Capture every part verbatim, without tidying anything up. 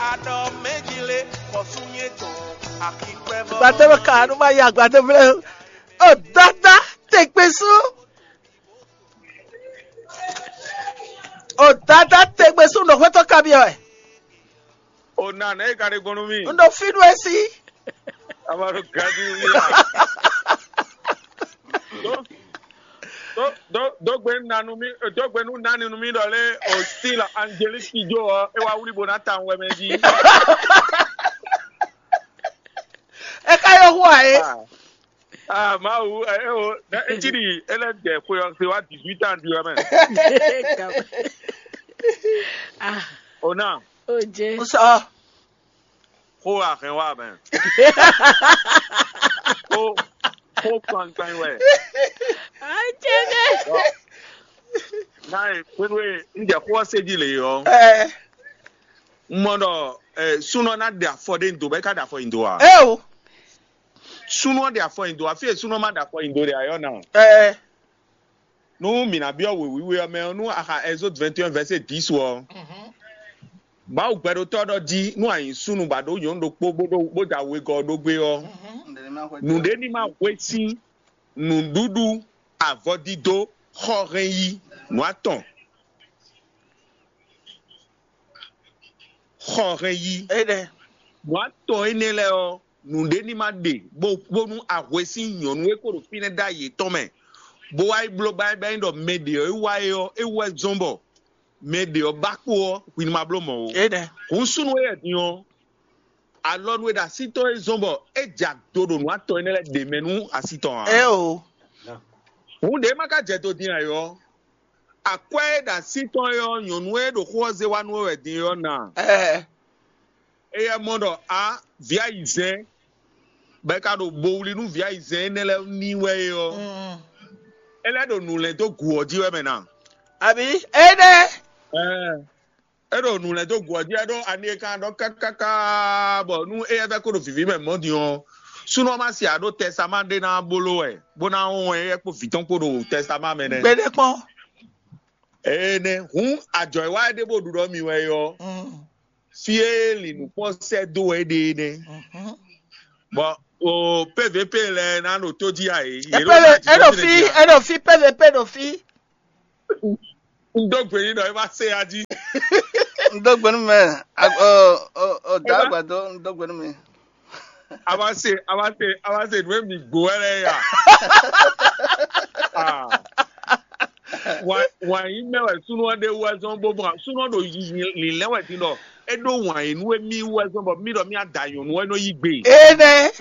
Aɖɔ mɛjile xɔsúnyɛtɔn akikpɛvɔ. Gbadé ka nu ma yi agbadé vlɛ. O dada tegbe sú. O dada tegbe sú nɔ hwetɔ kabiɔ ɛ. O na nɛ e ka ɖe gbɔn nú mi. N ɖo fí nú esi. Amaro gadi mi a. Do do do do gbe na nu mi do gbe nu nani nu mi ɖɔ lé o si la Angelique Kidjo ɔ e wa wuli bo na ta wɛ mɛ di. E ka yɔ hu a ye. Ah, ah, Mawu, eh, eh, oh, eh, eh, Chidi, ele de kwe ɔ se wa dix-huit ans du amen. Ah, Ona, o jɛ. N sɔ. Xó a hɛn wa mɛ. Xó xó kpankpan wɛ. A jɛ dɛ. Na e kpéɖo e n jɛ xó ɔ se ji le ɔ. Ɛ. N mɔ ɖɔ eh, súnɔ ná ɖe afɔ ɖe ndo bɔ é ka ɖe afɔ nyi do a? Eo. Súnɔ ɖe afɔ nyi do afi e súnɔ ma ɖe afɔ nyi do ɖe ayɔ na. Ɛ. Nú mǐ ná byɔ́ wěwíwé ɔ́ mɛ ɔ́, nú a xa Exode vingt et un verset dix ɔ́, Mawu gbɛɖotɔ́ ɖɔ jí nú a nyǐ súnnu bɔ a ɖǒ nyɔ̌nu ɖokpó bó ɖó bó da wegɔ́ ɖó gbé ɔ́, nǔɖé ní ma hwe sín nǔɖuɖu, avɔdídó, xɔhɛn yí, nǔ atɔn. Xɔhɛn yí. Éɖɛ́. Nǔ atɔn énɛ́ lɛ́ɛ ɔ́, nǔɖé ní ma ɖe bó bónú ahwe sín nyɔ̌nu e ko ɖo fínɛ́ ɖó ayě tɔn mɛ, bó wá yi bló báyìí bɔ é nyí ɖɔ mɛ ɖě ɔ́ e wá é ɔ́, é wú wɛ zɔ́n bɔ mɛ ɖě ɔ́ ba kpo ɔ́, hwi ní ma bló mɔ̌ ó. Éɖɛ́. Hǔn súnnu éyɛ́ din ɔ́, alɔnu e ɖo así tɔn é zɔ́n bɔ é jɛ ado ɖo nǔ atɔn énɛ́ lɛ́ɛ ɖě mɛ nú así tɔn ǎ. Eo. Hǔn ɖě ma ka jɛ do din ǎ é ɔ́, akwɛ́ e ɖo así tɔn é ɔ́, nyɔ̌nu e ɖo xó ɔ́ zé wá nú we wɛ din é ɔ́ na. Ɛɛ. Éyɛ́ mɔ ɖɔ a vǐ ayizɛ́n, bɔ é ka ɖo bo wlí nú vǐ ayizɛ́n énɛ́ lɛ́ɛ ní wɛ é ɔ́, Mm. é lɛ́ ɖo nǔ lɛ́n dó gǔ ɔ́ jí wɛ mɛ na. Abǐ énɛ́. Ɛɛ, é ɖo nǔ lɛ́n dó gǔ ɔ́ jí wɛ ɖó ani e kan ɖɔ kákáká bɔ nú éyɛ́ vɛ́ kó ɖo vǐví mɛ mɔ̌ din ɔ́, súnɔ ma se aɖó tɛsáma ɖé ná bló wɛ, bó ná wɔn éyɛ́ kpó vǐ tɔn kpó ɖo tɛsáma mɛ nɛ́. Gbeɖé kpɔ́n. Énɛ́ hǔn ajɔ e wá é ɖé bó ɖu ɖɔ mi wɛ é ɔ́, Mm. fí e lǐnǔkpɔ́n sɛ́ dó wɛ é ɖe é nɛ́. Mhm. Bɔ o P V P lɛ́ɛ ná ɖo tó jí a é. Yě ɖo Epele, ná jí eɖo dó fi, dé jí a. Eɖo fi P V P ɖo fi. Un dó gbe n'i ɖɔ é ma se a jí. Un dó gbe nú mɛ. Ag- Ɔ ɔ ɔ da Eba- agbadɔ, un dó gbe nú mi. A ma se a ma se a ma se nǔ e mi gbó wɛ lɛ́ɛ ya. Ah. Wǎn wǎn yí mɛ wɛ súnú ɔ́ ɖe wú wɛ zɔ́n bó mɔ súnú ɔ́ ɖo lǐnlɛ́n wɛ din ɖɔ é ɖó wǎn yí nú émí wú wɛ zɔ́n bɔ mí ɖɔ mí ada nyɔ̌nu ɔ́ é nɔ yí gbe. Énɛ́.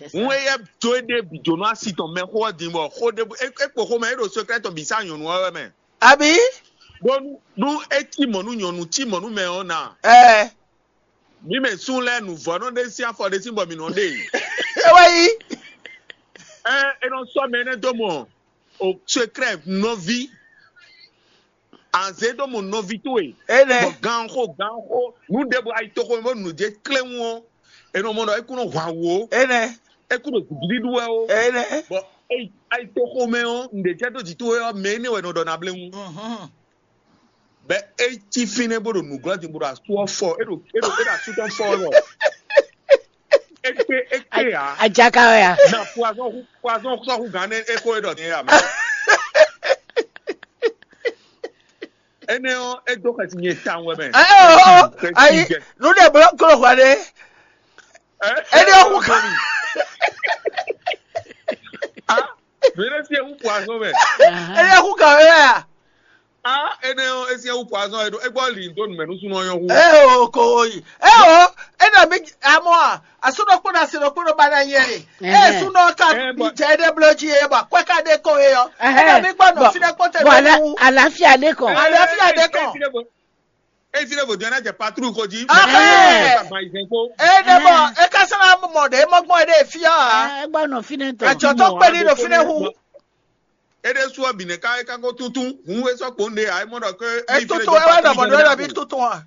Hǔn éyɛ́ jó éɖée bǐ jó nú asi tɔn mɛxó ɔ́ din bɔ xó ɖé é é kpo xomɛ é ɖo sekrɛ́ tɔn bǐ sá nyɔ̌nu ɔ́ wɛ mɛ. Abǐ? Bónú nú é cí mɔ̌ nú nyɔ̌nu cí mɔ̌ nú mɛ ɔ́ na. Ɛɛ. Mǐ mɛ sún lɛ́ɛ nǔvɔ́nɔ ɖé sín afɔ ɖé sín bɔ mǐ nɔ ɖe. É wá yí. Ɛ é nɔ sɔ́ mɛ énɛ́ dó mɔ o sekrɛ́ nɔví. Anzé ɖó mɔ nɔví towe. Énɛ́. Bɔ ganxó ganxó nǔ ɖěbǔ ayitoxo bó nǔ jɛ kléwún ɔ́, è nɔ mɔ ɖɔ é kún nɔ hwan wǔ ó. Énɛ́. É kún ɖo gǔgíɖíɖú wɛ ó. Énɛ́. Bɔ é ayitoxo mɛ ɔ́, nǔɖé jɛ dó jǐ towe ɔ́, mɛ énɛ́ wɛ nɔ ɖɔ nabléwún. Mhm. Bɛ é cí fínɛ́ bó ɖo nǔglɔ́ din bó ɖo asú ɔ́ fɔ, é ɖo é ɖo é ɖo asú tɔn fɔ wɛ bɔ é kpé é kpé ǎ. Ajaka wɛ ya? Na poison hu poison sɔ́ hu gǎn nɛ́ é xó é ɖɔ din é ǎ mɛ. Énɛ́ ɔ́, é dó xɛsi nyɛ tawun wɛ mɛ. Ɛ ɛ ɔ ayi nu ɖe blɔ klo hwa ɖe. Énɛ́ ɔ́ hu gǎn. Ah, mɛ ɖé sí ewu poison mɛ. Énɛ́ ɔ́ hu gǎn wɛ ya? Ah, énɛ́ ɔ́, é sí ewu poison é ɖó é gbɔ li dó numɛ nú súnú ɔ́ nyɔ́ hu. Ɛ o ko yi. Ɛ o, énɛ́ mi amɔ a, asúnɔ kpó na sinɔ kpó nɔ ba na nyɛ e. Ɛ súnɔ ka bi jɛ ɖe bló jí e bɔ akwɛ ka ɖe ko e ɔ. Énɛ́ mi gbɔ nɔ fínɛ kpó tɛ bɔ lɛ wu. Àlàáfíà ɖe kàn. Àlàáfíà ɖe kàn. Efi ɖe vodun ɛnɛ jɛ patrouille ko jí. Ɛhɛn. Ka gba izɛn ko. Ene bɔ e ka sɔn na mɔ ɖe mɔ gbɔn ɖe fia. Ɛ gbɔ nɔ fínɛ tɔ. Adzɔ tɔ kpe ni ɖo fínɛ hu. Ede su ɔ bine ka ka ko tuntun hun we sɔ kpo nde ayi mɔ dɔ ke. E tuntun e wa dɔ mɔ nu e dɔ bi tuntun wa.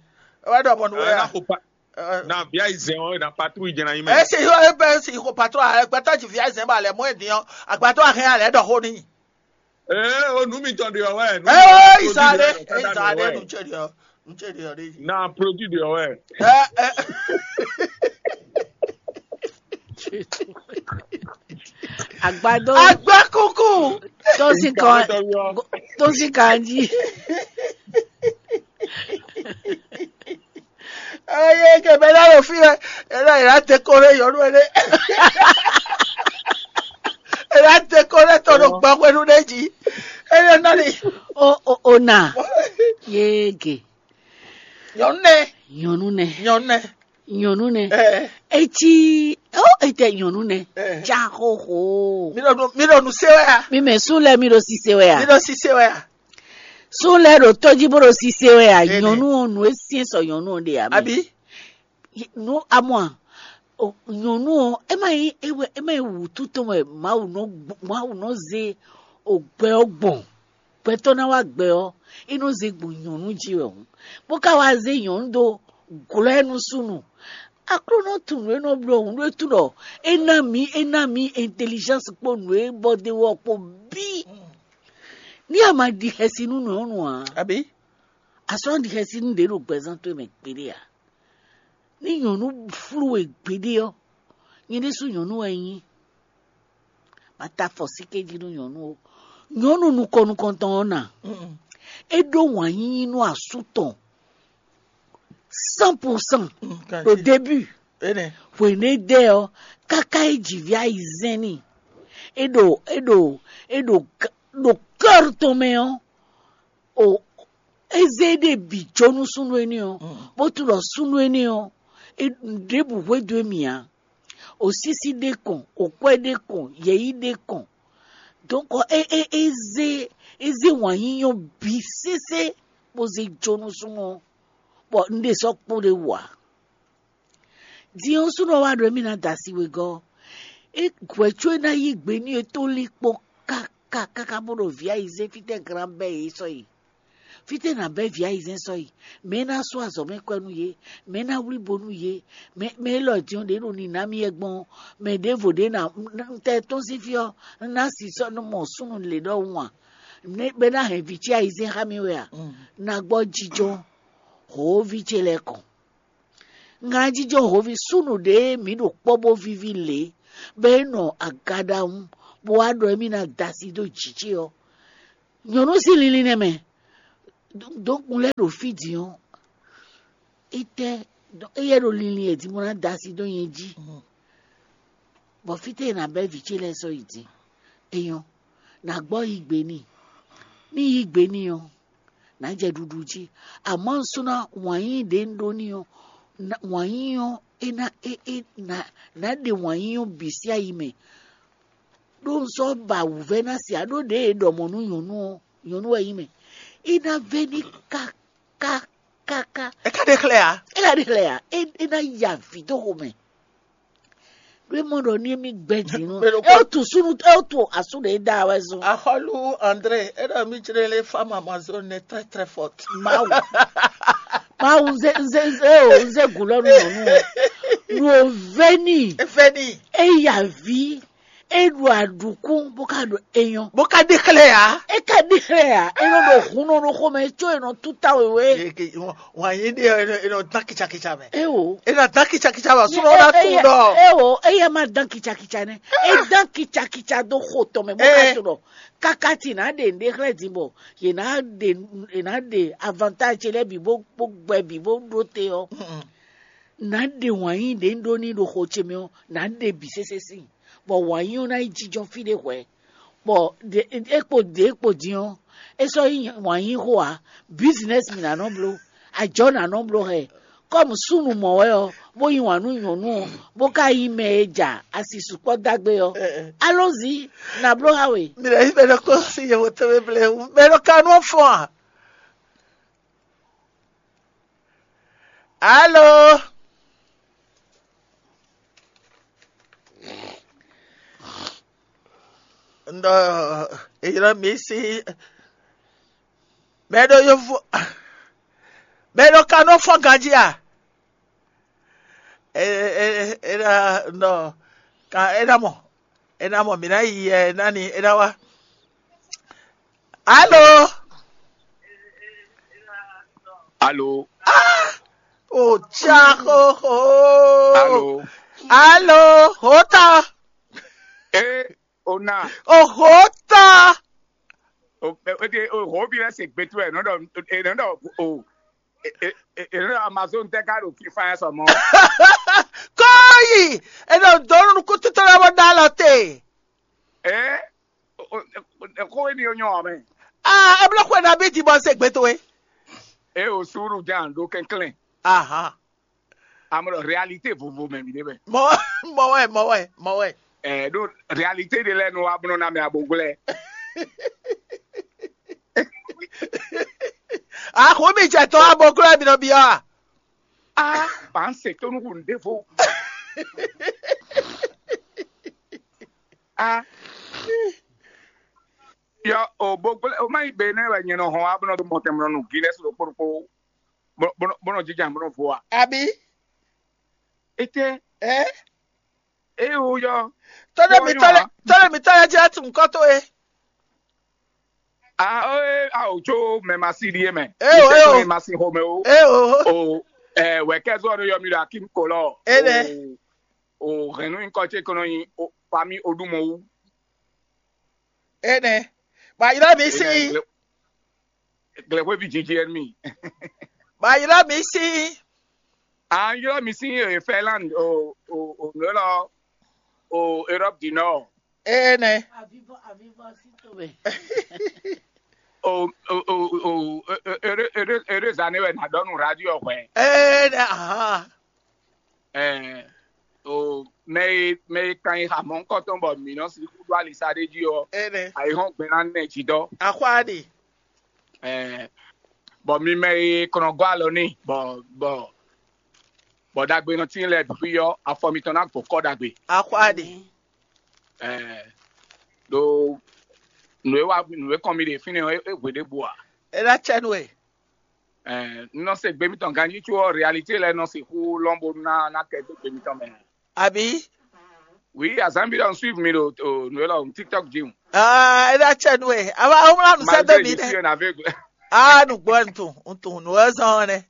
E wa dɔ mɔ nu ya. Na ko pa na bia izɛn o na patrouille jɛ na yi mɛ. E si xɔ e bɛ si xɔ patrouille a gbɛtɔ ji via izɛn ba lɛ mɔ e diɔ agbadɔ ahɛn alɛ dɔ xo ni. Ee o nu mitɔn ɖe ɔ wɛ. Ee o isa ɖe isa ɖe nu tse ɖe ɔ. Un ce ɖe ɔ ɖe jí. Na produit de ɔwɛ. Ɛ ɛ Agbado Agba kuku. tó sì kàn tó sì kàn jí. Eye ke bɛ na ɖo fi wɛ. Ena ena te ko ɖe yɔnu ɖe. Ena te ko ɖe tɔ ɖo gbaxwenu ɖe jí. Eye nɔ ni. O o o na yege Nyɔnu nɛ. nyɔnu nɛ Nyɔnu nɛ. nyɔnu nɛ Ɛ etsi o ete nyɔnu nɛ Ɛ. ja xoxo Mi ɖo nu mi ɖo nu se wɛ ya. mi mɛ sun lɛ mi ɖo sise wɛ Mi ya ɖo sise wɛ ya. sun lɛ ɖo tɔji bó ɖo sise wɛ ya Ene. nyɔnu o nu e siɛ sɔ nyɔnu o ɖe ya mi Abi. nu amɔ a o nyɔnu o e ma yi e wɛ e ma yi wutu tɔn wɛ mawu nɔ gbo- mawu nɔ ze o gbɛ ɔ gbɔn gbɛtɔ na wa gbɛ ɔ e nɔ ze gbɔn nyɔnu ji wɛ o bó ka wa ze nyɔnu do glɔ ɛ nu sunu aklúnɔ tunú e nɔ bló òun ɖó e tunɔ e ná mí e ná mí intelligence kpó nǔ e bɔ de wɔ kpó bí ní a ma ɖi xɛsi nú nyɔnu a Abi. asɔn ɖi xɛsi nú ɖě ɖo gbɛzán towe mɛ gbeɖé a ní nyɔnu flú we gbeɖé ɔ nyɛ ɖésú nyɔnu wɛ nyí ma ta fɔ síkéji nú nyɔnu o nyɔnu nukɔn nukɔntɔn ɔ na é ɖó wǎn yíyí nú asú tɔn cent pour cent au début Ene. hwenu e dɛ ɔ káká e jǐví ayizɛn ni é ɖo é ɖo é ɖo ga- ɖo kɛ́r tɔn mɛ ɔ o eze ɖe bǐ jó nú súnnu énɛ́ ɔ bó tunɔ súnnu énɛ́ ɔ é ɖěbǔ hwédo émì ǎ o sísí ɖé kɔn o kwɛ́ ɖé kɔn yɛ̌yi ɖé kɔn donc é é é zé é zé wǎn yíyɔ́ bǐ sésé bó zé jó nú súnnu ɔ́ bɔ un ɖe sɔ́ kpó ɖé wú ǎ. Din ɔ́, súnnu ɔ́ wá ɖɔ émí ná da asi wegɔ́. É hwɛ̌ có é ná yí gbe n'i é tó lín kpɔ́n káká káká bó ɖo vǐ ayizɛ́n fítɛ́ glán bɛ́ yě sɔ́ yi. Fítɛ́ ná bɛ́ vǐ ayizɛ́n sɔ́ yi? Mɛ̌ ná sú azɔ̌ mɛ kwɛ́ nú yě? Mɛ̌ ná wlí bo nú yě? Mɛ mɛ élɔ́ din ɔ́, ɖě ɖo nǐ ná mì wɛ gbɔn ɔ́, mɛ ɖěvo ɖě ná tɛ tɔ́n sín fí ɔ́, un ná si sɔ́ nú mɔ súnnu lě ɖɔhun a? Bɛ́ ná hɛn vǐ ce ayizɛ́n xá mì wɛ a? Ná gbɔ jijɔ hǒví ce lɛ́ɛ kɔn. Ŋlajijɔ hǒví súnnu ɖě mǐ ɖo kpɔ́ bó víví lě, bɔ é nɔ aga ɖawun, bó wá ɖɔ émí ná da asi dó jǐ ce ɔ́. Nyɔ̌nu sín linlin nɛ́ mɛ, dǒkun lɛ́ɛ ɖo fí din ɔ́, étɛ́ éyɛ́ ɖo linlin e din bó ná da asi dó nyɛ jí. Bɔ fítɛ́ è nǎ bɛ́ vǐ ce lɛ́ɛ sɔ́ yi din? É nyɔ́, nǎ gbɔ yí gbe n'i. Ní yí gbe n'i ɔ́, nǎ jɛ ɖuɖu jí. Amɔ̌ un sɔ́ ná wǎn yíyí ɖě un ɖó n'i ɔ́, wǎn yíyí ɔ́ é ná é é nǎ nǎ ɖe wǎn yíyí ɔ́ bǐ sín ayi mɛ. Ɖó un sɔ́ ba wǔvɛ́ ná se ǎ, ɖó ɖěe è ɖɔ mɔ̌ nú nyɔ̌nu ɔ́, nyɔ̌nu wɛ nyí mɛ. É ná vɛ́ ní káká káká. É ka ɖe xlɛ́ ǎ. É ná ɖe xlɛ́ ǎ, é é ná yi avǐ dó xomɛ. Ɖó é mɔ ɖɔ ní émí gbɛ́ din nú Mɛ ɖokpó- é ó tu súnú é ó tu asú ɖě da wɛ zɔn. Axɔlu André, é ɖɔ mí jlé lé femme amazone est très très forte. Mawu Mawu nze nze nze o nze gulɔ nu nyɔnu o nu o veni Efeni. eya vi eɖu aɖukún bó ka ɖo eyɔn Bó ka ɖe xlɛ́ ya. eka ɖi xlɛ ya enɔ ɖo hun nɔ ɖo xɔmɛ tso enɔ tuta wewe Wǎn yí ɖe ɛ nɔ dán kitsakitsa mɛ. ewo É nɔ dán kitsakitsa mɛ, súnmọ́ ná kú ɖɔ. Ewo eya ma dan kitsakitsa nɛ e dan kitsakitsa do xo tɔn mɛ bó ka Eh. to ɖɔ kaka ti na ɖe nɖe xlɛ din bɔ ye na ɖe ye na ɖe avantage lɛ bi bó bó gbɛ bi bó ɖo te ɔ na ɖe wǎn yí ɖe ɖo ní ɖo xo ce mɛ ɔ na ɖe bi sese si bɔ wǎn yí ɔ na yi jijɔ fi ɖe hwɛ bɔ ɖe e kpo ɖe e kpo din ɔ e sɔ yi wǎn yí xo a business mi na nɔ blo ajɔ na nɔ blo hɛ kɔmu súnnu mɔ wɛ ɔ bó yí wǎn nú nyɔ̌nu ɔ bó ka yí mɛ e ja asi sukpɔ dagbe ɔ alonzi na blo ha we Mi ɖe yi bɛ nɔ kó sí yevo tɛmɛ ble wu bɛ nɔ ka nɔ fɔn a. Alo. Ndɔ eyɔrɔ mi si bɛ ɖo yovo bɛ ɖo ka nɔ fɔn ganji a. E e e ɖa nɔ ka e ɖa mɔ e ɖa mɔ mi na yi ɛ nani e ɖa wa. Alo. Alo. O tsa xoxo. Alo. Alo, hota. E ona. O hota. O o de o hobi lɛ se gbetu ɛ nɔdɔ e nɔdɔ o e e e nɔdɔ Amazon tɛ ka ɖo fifa yɛ sɔmɔ. Kɔyi. Eno donu kutu tɔlɔ bɔ da lɔ te. E o o ko e ni o nyɔ mɛ. Ah, eblo xwe na bi di bɔ se gbetu e. E o suru jan ɖo kɛnklɛn. Aha. Amɔ réalité vovo mɛ mi ɖe mɛ. Mɔ mɔ wɛ mɔ wɛ mɔ wɛ. Ɛ ɖo réalité de lɛ nu wa blɔ na mɛ aboglɛ. Axu mi jɛ tɔ aboglɛ mi nɔ bi ɔ. Ah, ban se to nu kun devo. Ah. Yɔ o boglɛ o ma yi be ne wɛ nyɛ nɔ hɔn wa blɔ do mɔtɛmlɔ nu Guinness ɖo kpokpo. Bɔnɔ jija bɔnɔ vo wa. Abi. Ete. Ɛ. E o yɔ. Tɔlɛ mi tɔlɛ tɔlɛ mi tɔlɛ jɛ tun kɔtɔ ye. Ah, eh, ah, o tso mɛ ma si ɖie mɛ. Eh, o, eh, o. Mɛ ma si xɔmɛ o. E o. O, eh, wɛ kɛ zɔ ɖo yɔ mi ɖo akim kolɔ. Eh, nɛ. O, o hɛnnu nkɔ tse kɔnɔ nyi o fami o ɖu mɔ wu. E nɛ. Ba yira mi si. Glɛkwe vi jiji ɛn mi. Ba yira mi si. An yɔ mi si e Finland o o o nɔ lɔ o Europe du Nord. E nɛ. O o o o ere ere ere zane wɛ na dɔ nu radio hwɛ. E nɛ. Aha. Ɛɛ o mɛ e mɛ e kan yi xamɔ ŋkɔtɔn bɔ mǐ nɔ sixú ɖó alisa ɖé jí ɔ, E nɛ. Ayihɔn gbɛn ná nɛ jí dɔ. Axwa ɖi. Ɛɛ bɔ mi mɛ e kɔnɔ gɔ́ alɔ ní bɔ bɔ bɔ ɖagbe nɔ tín lɛ bǐ ɔ, afɔ mitɔn ná gbɔ kɔ ɖagbe. Axwa ɖi. Ɛɛ ɖo nǔ e wa nǔ e kɔn mi ɖe fínɛ́ ɔ́, é hwe ɖěbǔ ǎ. E ɖa cɛ nu e. Ɛɛ n nɔ se gbe mitɔn ganjí có réalité lɛ nɔ sixú lɔn bónú ná ná kɛ dó gbe mitɔn mɛ. Abi. Oui, azanbi ɖɔ n suivre mi ɖo o nǔ e lɔ tiktok jí o. Ah, e ɖa cɛ nu e. Ava o mla nu sɛ do Malgré mi je suis nɛ. Un aveugle. Ah, nu gbɔ n tun n tun nu e zɔn nɛ.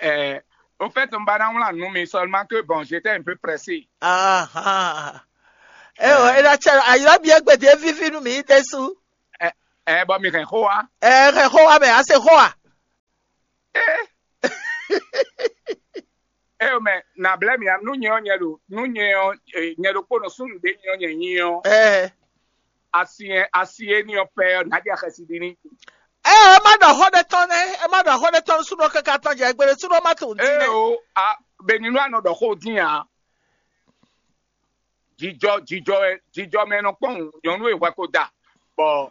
Euh, au fait, on va dans la nous, mais seulement que bon, j'étais un peu pressé. Aha. E o e ɖa cɛ ayira bi egbe de vivi nu mi de su. Eh, bon, mais quoi? E xe xɔ wa mɛ a se xɔ wa. Eh, mais na blé mi, nous n'y on n'y a nous n'y on n'y a le pono sun de n'y on n'y on. E. Asien asie ni on père n'a dit à Chassidini. E o e ma ɖɔ xɔ ɖe tɔn nɛ, e ma ɖɔ xɔ ɖe tɔn sunɔ kaka tɔn jɛ gbele sunɔ ma tun di Eh nɛ. oh, ah, Beninois no ɖɔ xó dín ǎ. Jijɔ jijɔ ɛ jijɔ mɛ nɔ kpɔn nyɔnu e hwɛ ko da. Bɔ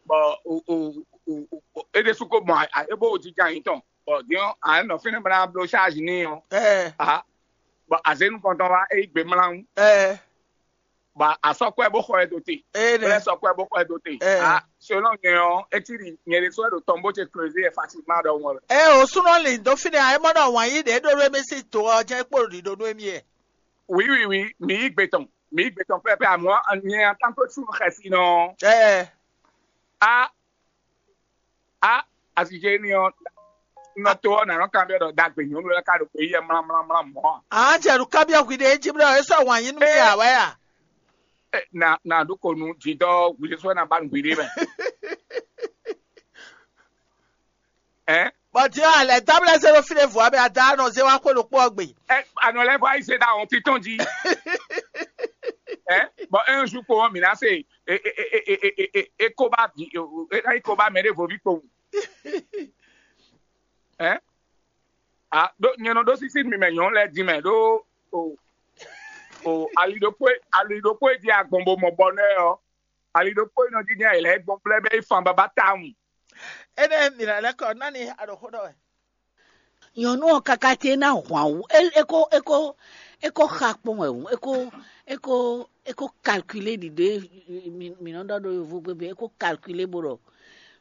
bɔ o o o o e ɖe su ko mɔ a e bo jija yin tɔn. Bɔ diɔ a nɔ fínɛ bana blo charge ni ɔ. Ɛ. Ah, bɔ azenu kɔntɔn wa e gbe mlan. Ɛ. Bɔ asɔkɔɛ bo xɔ ɛ do te. E Bɛlɛ ɖe. Sɔkɔɛ bo xɔ ɛ do te. Eh. Ah, selon nyɛ ɔ, etiri nyɛ ɖe sɔ ɛ ɖo tɔn bo ce creuse ɛ facilement ɖɔ ŋɔ. E o sunɔ li do fi ne a e mɔ ɖɔ wɔn yi ɖe ɖo ɖo emi si to ɔ jɛ kpo ɖi ɖo ɖo emi yɛ. Oui, oui, oui, mi yi gbe tɔn. Mi yi gbe tɔn pɛpɛ amɔ nyɛ en tant que sun xɛsi nɔ. Ɛ. A a asije ni ɔ nɔ to ɔ nanɔ kan bɛ ɖɔ dagbe nyɔnu lɛ ka ɖo gbe yɛ mla mla mla mɔ. A jɛ ɖo kabiɔ hwi ɖe edzi bla e sɔ wɔn yi nu mi ya wɛ ya. Na na ɖo ko nu dzi dɔ gbe sɔ na ba nu gbe ɖe mɛ. Ɛ Bɔn diɔ alɛ dabla zero fi ɖe vɔ abɛ ada nɔ ze wa xwe ɖokpo ɔgbe. ɛ anɔ lɛ fɔ ayi se da wɔn titɔn dzi. Ɛ bɔn un jour ko mi na se e e e e e e e e ko ba di e e e ko ba mɛ ɖe vo vi kpo. Ɛ a ɖo nyɛ nɔ ɖo sisi mi mɛ nyɔnu lɛ di mɛ ɖo o o ali ɖokpo ali ɖokpo e di agbɔn bo mɔ bɔ nɛ ɔ ali ɖokpo e nɔ di nyɛ lɛ gbɔn blɛ bɛ ifan baba tawun. Ene mi la lɛ kɔ nani aɖoxo ɖɔ wɛ. Nyɔnu ɔ kaka te ná hwan wú. E e ko e ko e ko xa kpɔn wɛ wú. E ko e ko e ko calculer ɖiɖe mi mi nɔ ɖɔ ɖo yovo gbe be e ko calculer bo ɖɔ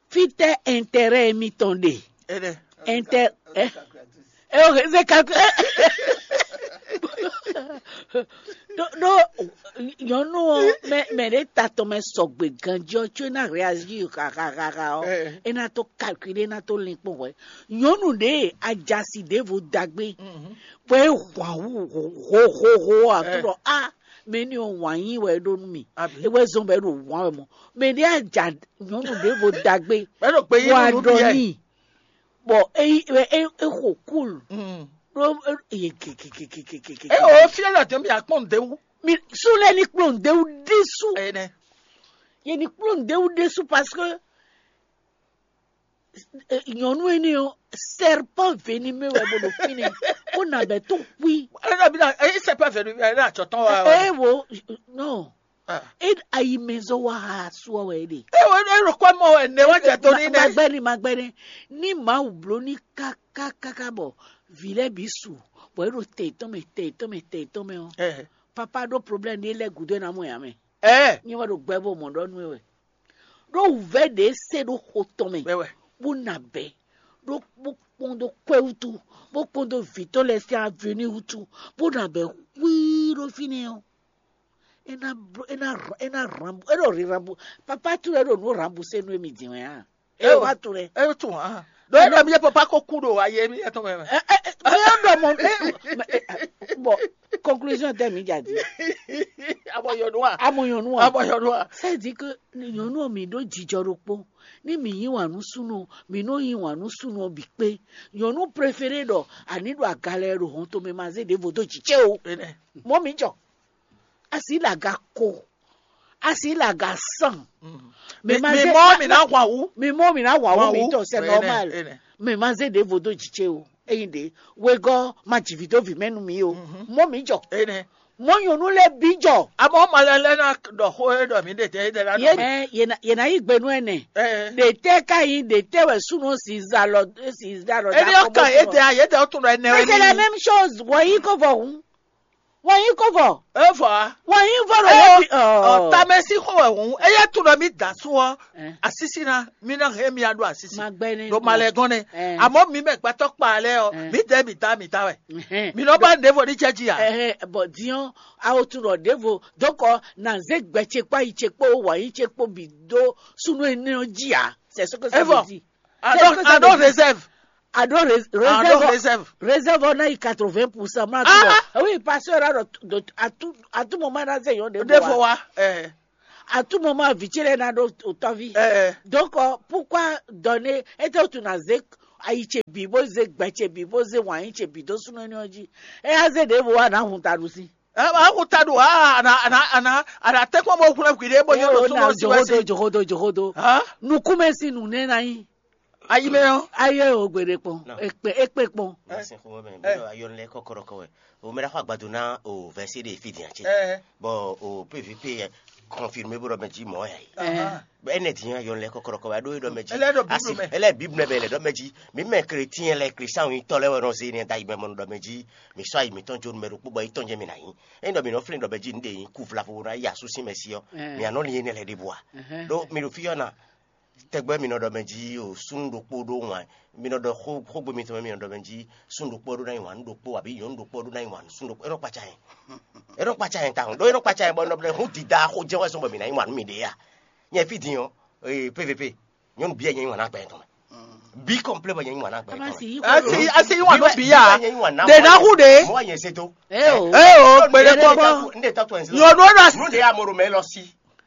fitɛ intérêt mitɔn ɖe. Ene. Inter eh e o se calculer. Ɖó ɖó nyɔ̌nu ɔ́, mɛ mɛ ɖě ta tɔn mɛ sɔgbe ganjí ɔ́, có é ná réagir xaxaxaxa ɔ́, é ná tó calculer, é ná tó linkpɔ́n hwɛ̌. Nyɔ̌nu ɖě ajasi ɖěvo dagbe, bɔ é hwan wú hohoho ɔ́, a tó ɖɔ a mɛ ní ɔ́ wǎn yí wɛ é ɖó nú mì. É wɛ zɔn bɔ é ɖo wǎn wɛ mɔ. Mɛ ɖě aja nyɔ̌nu ɖěvo dagbe, Bɔ é ɖo gbe yí wá nú ɖɔ n'i. Bɔ é é é xo kúl. Ɖó é gegegegegege. É o fia la tɛn bi akpɔn de wu. Mi su lɛ ni kplɔn de wu ɖésú. Ene. Ye ni kplɔn de wu ɖésú parce que nyɔnu énɛ́ ɔ́, serpent venimeux wɛ bó ɖo fínɛ́, bó nabɛ tó kpí. Ɛnɛ bi na eyi sɛ pɛ vɛnu ɛnɛ atsɔtɔn wa. Eye wo, non. E ayi mɛ zɔ wa ha asu ɔ wɛ ɖe. Eye wo ɖo kɔ mɔ wɛ ne wa jɛ to ní nɛ. Magbɛni magbɛni, ní Mawu bló ní kákákáká bɔ vǐ lɛ́ɛ bǐ su, bɔ é ɖo tɛ tɔn mɛ tɛ tɔn mɛ tɛ tɔn mɛ ɔ́, papa ɖó problème ní lɛ́ gǔdo ná mɔ yǎ mɛ. Ɛ. Nyɛ wɛ ɖo gbɛ bó mɔ ɖɔ nú we wɛ. Ɖó wǔvɛ́ ɖě se ɖó xo tɔn mɛ, bó na bɛ̌, ɖó bó kpɔ́n dó kwɛ́ wútu, bó kpɔ́n dó vǐ tɔn lɛ́ɛ sín avenue wútu, bó na bɛ̌ xwíí ɖó fínɛ́ ɔ́. É ná é ná é ná rambu é ɖo ri rambu. Papa tour é ɖo nǔ rambu se nú émi din wɛ á. É wá tour é. É tún hàn. Ɖó é ɖɔ mi yɛ papa ko kú ɖo ayé mi yɛ tɔn mɛ. Ɛ ɛ ɛ mi yɛ ɖɔ mɔ ɛ ɛ bɔn conclusion tɛ mi dza di. Abɔ yɔnu wa. Amɔ yɔnu wa. Abɔ yɔnu wa. C'est-à-dire que nyɔnu mi ɖo jijɔ ɖokpó. Ní mi yí wǎn nú súnnu, mi nɔ yí wǎn nú súnnu ɔ́ bǐ kpé. Nyɔnu préféré ɖɔ àní ɖo agalɛ ɖo hɔn tomɛ ma zé ɖěvo dó jǐ cé o. Mɔ̌ mi jɔ. Asi le aga ko, asi le aga san. Mi mɔ mi ná hwan wú. Mi mɔ mi ná hwan wú mi tɔ, c'est normal. Mi ma zé ɖěvo dó jǐ cé o. Eyin ɖe wegɔ́ ma jǐ vǐ dó vǐ mɛ nú mi o. Mɔ mi jɔ. Mɔ nyɔnu lɛ bi jɔ. Amɔ ma lɛ lɛ na ɖɔ xó e ɖɔ mi ɖe tɛ e ɖe la. Ye ɖɔ. Ɛ ye na ye na yi gbe nú ɛnɛ. Ɛ. Ɖe tɛ ka yi ɖe tɛ wɛ súnú si za lɔ si da lɔ. Eni ɔ́ kan yě dɛ yě dɛ ó tún ɖɔ ɛnɛ. Mais c'est la même chose. Wɔ yi ko vɔ hun. Wɔ yi ko vɔ. E vɔ a. Wɔ yi vɔ ɖo yɛ bi. Ɔ tamɛ si xɔ wɛ hun eye tún ɖɔ mi da sú ɔ. Asisi na mi na hɛn mi aɖo asisi. Magbɛnɛ. Ɖo malɛ gɔn nɛ. Amɔ mi mɛ gbɛtɔ kpa lɛ ɔ mi dɛ mi da mi da wɛ. Mi nɔ ba nɖe vɔ ni cɛ ji a. Ɛhɛn, bɔn diɔn awo tún ɖɔ ɖěvo dɔkɔ na zé gbɛ ce kpó ayi ce kpó wǎ yi ce kpó bǐ dó súnú énɛ́ ɔ́ jí a. C'est ce que ça veut dire. Aɖo aɖo réserve. Aɖo réserve. Réserve ɔ́ ná yi quatre-vingts pour cent. Má tún bɔ oui, pasteur aɖo à tout moment ná zé yɔn ɖe ɖe fɔ wa. À tout moment vǐ ce lɛ́ɛ ná ɖó otɔ́ví. Donc pourquoi donner? Étɛ́ wútu ná zé ayi ce bǐ bó zé gbɛ ce bǐ bó zé wǎn yí ce bǐ dó súnnu énɛ́ ɔ́ jí? É á zé ɖěvo wá nǎ hun taɖu sí. Awu ta ɖo a ana ana ana ana tɛkpɔ mo hlɛ hwi ɖe bɔ yɔ ɖo súnmɔ si wɛ si. Johodo johodo johodo. Nukume si nu ne na yi. Ayi mɛ ɔ. Ayi o gbede kpɔn. Ekpe ekpe kpɔn. Merci xo mɛ mi ɖo ayɔn lɛ kɔkɔrɔkɔ wɛ. O mɛ ɖa xɔ agbado na o vɛsi de fi dian ce. Bɔ o pvp yɛ confirmé bó ɖɔ mɛ jí mɔ ya yi. Ɛnɛ din ayɔn lɛ kɔkɔrɔkɔ wɛ ɖo e ɖɔ mɛ jí. Ɛlɛ ɖo bible mɛ. Ɛlɛ bible mɛ bɛ lɛ ɖɔ mɛ jí. Mi mɛ chrétien lɛ kristian yi tɔ lɛ wɛ nɔ se ne da yi mɛ mɔ ɖɔ mɛ jí. Mi sɔ ayi mitɔn jo mɛ ɖokpó bɔ yi tɔn jɛ mi na yi. Eyin ɖɔ mi nɔ flin ɖɔ mɛ jí nu ɖe yi ku vlavo na yi asu sin mɛ si ɔ. Mi anɔ li enɛ lɛ ɖe bua. Ɖo mi ɖo fi ɔ na. Tɛgbɛ mi nɔ ɖɔ mɛ jí o súnnu ɖokpó ɖó wǎn. Mi nɔ ɖɔ xógbe mitɔn mɛ mi nɔ ɖɔ mɛ jí súnnu ɖokpó ɖó ná yi wǎn nú ɖokpó abǐ nyɔ̌nu ɖokpó ɖó ná yi wǎn nú súnnu ɖokpó. É nɔ kpatsa yɛn. É nɔ kpatsa yɛn tawun ɖó é nɔ kpatsa yɛn bɔ nɔ ɖɔ hǔn dida xó jɛ́n wɛ sɔn bɔ mi ná yi wǎn nú mi ɖě a. Nyɛ fí din ɔ́, pvp nyɔ́nu bíyɛ nyɛ yi wǎn ná gbɛ tɔn mɛ. Bí kɔ̀mplé bɔ nyɛ yi wǎn ná gbɛ tɔn mɛ. Asi asi yi wǎn nú bíyà. Ɖe ná hu ɖe. Mɔ nyɛ se tó. Ee o gbede kpɔkpɔ. Nyɔnu ɖo asi. Nú ɖe amoro mɛ lɔ sí.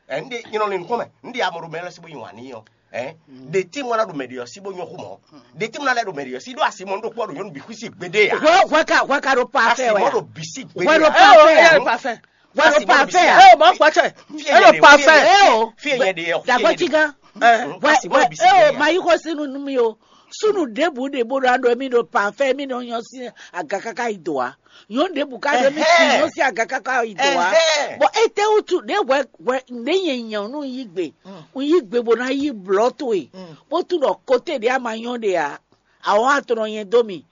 Ɛ, n ɖe nyɔnɔ le nukɔn mɛ, n ɖe amoro mɛ lɔ si bo nyi wani yɔ. Ɛ, ɖe tí mo na ɖo mɛ ɖe yɔ si bo nyɔ xu mɔ. Ɖe tí mo na lɛ ɖo mɛ ɖe yɔ si ɖo asi mɔ n ɖo kpɔ ɖo nyɔnu bi xwisi gbede ya. Hwɛ hwɛ ka hwɛ ka ɖo pa fɛ wɛ. Asi mɔ ɖo bisi gbede ya. Hwɛ ɖo pa fɛ. Hwɛ ɖo pa fɛ. Ɛ o ma kpa cɛ. Ɛ ɖo pa fɛ. Ɛ o. Fi yɛ de yɔ. Dagba tiga. Ɛ. Asi mɔ bisi gbede ya. Ɛ o ma yi xɔ sinu nu mi o. Sunu ɖěbǔ ɖě bó ɖo aɖɔ émí ɖo parfait émí nɔ nyɔ sín aga káká yi dǒ a. Nyɔ̌nu ɖěbǔ ká ɖo émí sín nyɔ sín aga káká yi dǒ a. Bɔ étɛ́ wútu ɖě hwɛ hwɛ ɖě nyɛ nyɛ un yí gbe un yí gbe bó ná yí blɔ̌ towe bó tunwun ɖɔ kote ɖě a ma nyɔ́ ɖe a. Awɔ̌ a tlɔ nyɛ dó mì.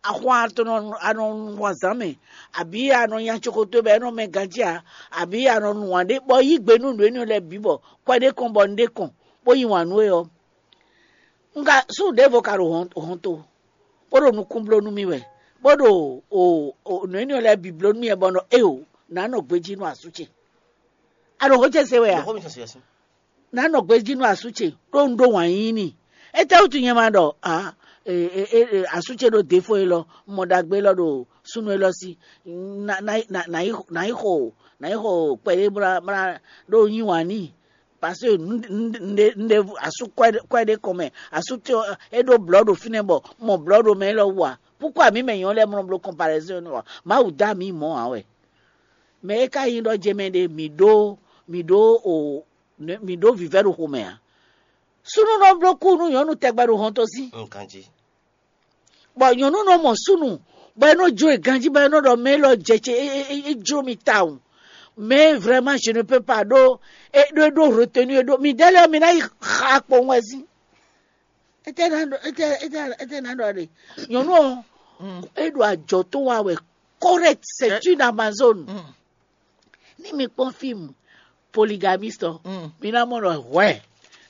Axɔn a tlɔ a nɔ nu wazǎn mɛ abǐ a nɔ nya cokoto bɔ é nɔ mɛ ganjí a abǐ a nɔ nu wǎn ɖé bɔ yí gbe nú nǔ énɛ́ lɛ́ɛ bǐ bɔ kwɛ ɖé kɔn bɔ un ɖé kɔn bó yí wǎn nú we ɔ́. Un ka sú ɖěvo ka ɖo hɔnto, bó ɖo nukún bló nú mì wɛ, bó ɖo nǔ énɛ́ lɛ́ɛ bǐ bló nú mì wɛ bɔ un ɖɔ éeǒ, Nǎ nɔ gbejí nú asú ce. A ɖo xó ce se wɛ a? Xó mi tɔn se yɛsin. Nǎ nɔ gbejí nú asú ce ɖó un ɖó wǎn yíyí n'i. Étɛ́wútu nyɛ ma ɖɔ a asú ce ɖo défo élɔ́, mɔ ɖagbe élɔ́ ɖo súnnu élɔ́ sí? Nǎ yi xo nǎ yi xo kpɛɖé bla bla ɖó un yí wǎn n'i. Parce que un ɖe asú kwɛ ɖé kɔn mɛ, asú ce é ɖó blɔ̌ ɖo fínɛ́ bɔ mɔ blɔ̌ ɖo mɛ élɔ́ wú ǎ. Púkwa mǐ mɛ nyɔ̌ lɛ́ɛ mlɔ bló kɔnpalɛzɔ́n nú ɔ́, Mawu dó amǐ mɔ̌ ǎ wɛ. Mɛ e ka nyí ɖɔ jɛ mɛ ɖe mǐ ɖó mǐ ɖó o mǐ ɖó vǐvɛ́ ɖo xomɛ ǎ. Súnnu nɔ bló kú nú nyɔ̌nu tɛgbɛ ɖo hɔnto sí. Nkan jí. Bɔ nyɔ̌nu nɔ mɔ súnnu bɔ é nɔ jló e ganjí bɔ é nɔ ɖɔ mɛ élɔ́ jɛ ce é jló mi tawun. Mais vraiment je ne peux pas ɖó é ɖó é ɖó retenu é ɖó mi ɖɛ́ lɛ́ɛ mi ná yi xa kpowun wɛ sín. Étɛ́ ná ɖɔ étɛ́ étɛ́ étɛ́ ná ɖɔ ɖe nyɔ̌nu ɔ́ é ɖo ajɔ tó wa wɛ. Correct, c'est une Amazone. Ní mi kpɔ́n fíìmù poligamiste ɔ́, mi ná mɔ ɖɔ hwɛ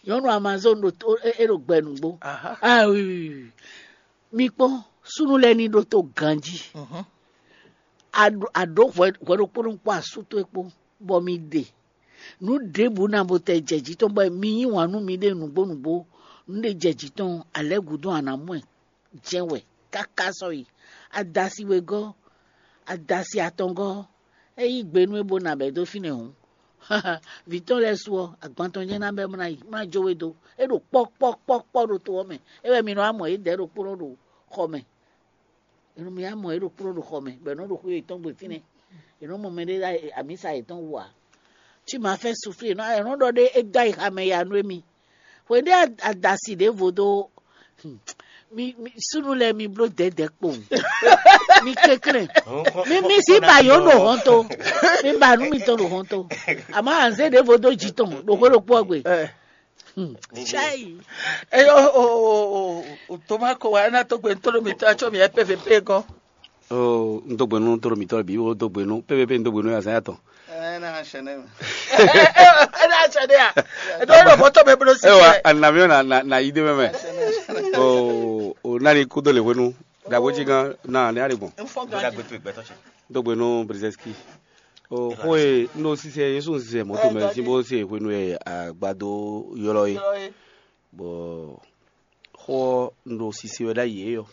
nyɔ̌nu Amazone ɖo é ɖo gbɛ nǔgbó. Ah oui oui oui. Mi kpɔ́n súnnu lɛ́ɛ ní ɖótó ganjí. A ɖǒ hwɛ ɖokpó ɖokpó asú towe kpó bɔ mi ɖe nǔ ɖěbǔ ná bo tɛ jɛ jǐ tɔn bɔ mi yí wǎn nú miɖée nǔgbó nǔgbó. Nǔ ɖé jɛ jǐ tɔn alɛ̌ gǔdo a nǎ mɔ ɛ jɛ́n wɛ káká sɔ́yi. Adasi wegɔ́, adasi atɔngɔ́, é yí gbe nú é bó ná bɛ̌ dó fínɛ́ hǔn. Vǐ tɔn lɛ́ɛ su ɔ́, agban tɔn jɛ́n ná bɛ́ bó ná yi, bó ná jó we dó. É ɖo kpɔ́ kpɔ́ kpɔ́ kpɔ́ ɖo to ɔ́ mɛ. É wɛ mi nɔ wá mɔ yědɛɛ ɖokpónɔ ɖo xɔ mɛ. È nɔ mì wá mɔ yě ɖo kplɔ́n ɖo xɔ mɛ, bɔ è nɔ ɖo xwé yětɔn gbe fínɛ́. È nɔ mɔ mɛɖé ɖo amǐsa yětɔn wú ǎ. Cí ma fɛ́ suflí è nɔ è nɔ ɖɔ ɖé é dó ayixa mɛ ya nú émí. Hweɖé adasi ɖěvo dó mi súnnu lɛ́ɛ mi bló dɛ̌dɛ̌ kpowun. Mi kɛnklɛ́n. Mi mi sí ba yǒ ɖo hɔnto. Mi ba nǔ mitɔn ɖo hɔnto. Àmọ́ anzé ɖěvo dó jǐ tɔn ɖo xwé ɖokpó ɔ́ gbe. Chai. Eyo o o o o toma ko wa ena to gbe ntolo mi ta cho mi e P V P gɔn. O n dó gbe nú ntolo mi tɔ bi o dó gbe nú P V P n dó gbe nú azan ya tɔn. Ena chene. Ena chene ya. Edo lo moto be bro si. Ewa anamio na na na ide meme. O o nani kudo le wenu. Dagbo jigan na ne ari gbɔn. Dagbo tu gbɛtɔ cɛ. Dó gbe nú Brzezinski. O xó e un ɖo sise Jesu un sise mɔ̌ tomɛ sín bó se hwenu e agbado ylɔ́ é. Bɔ xó ɔ́ un ɖo sise wɛ ɖ'ayǐ é ɔ́,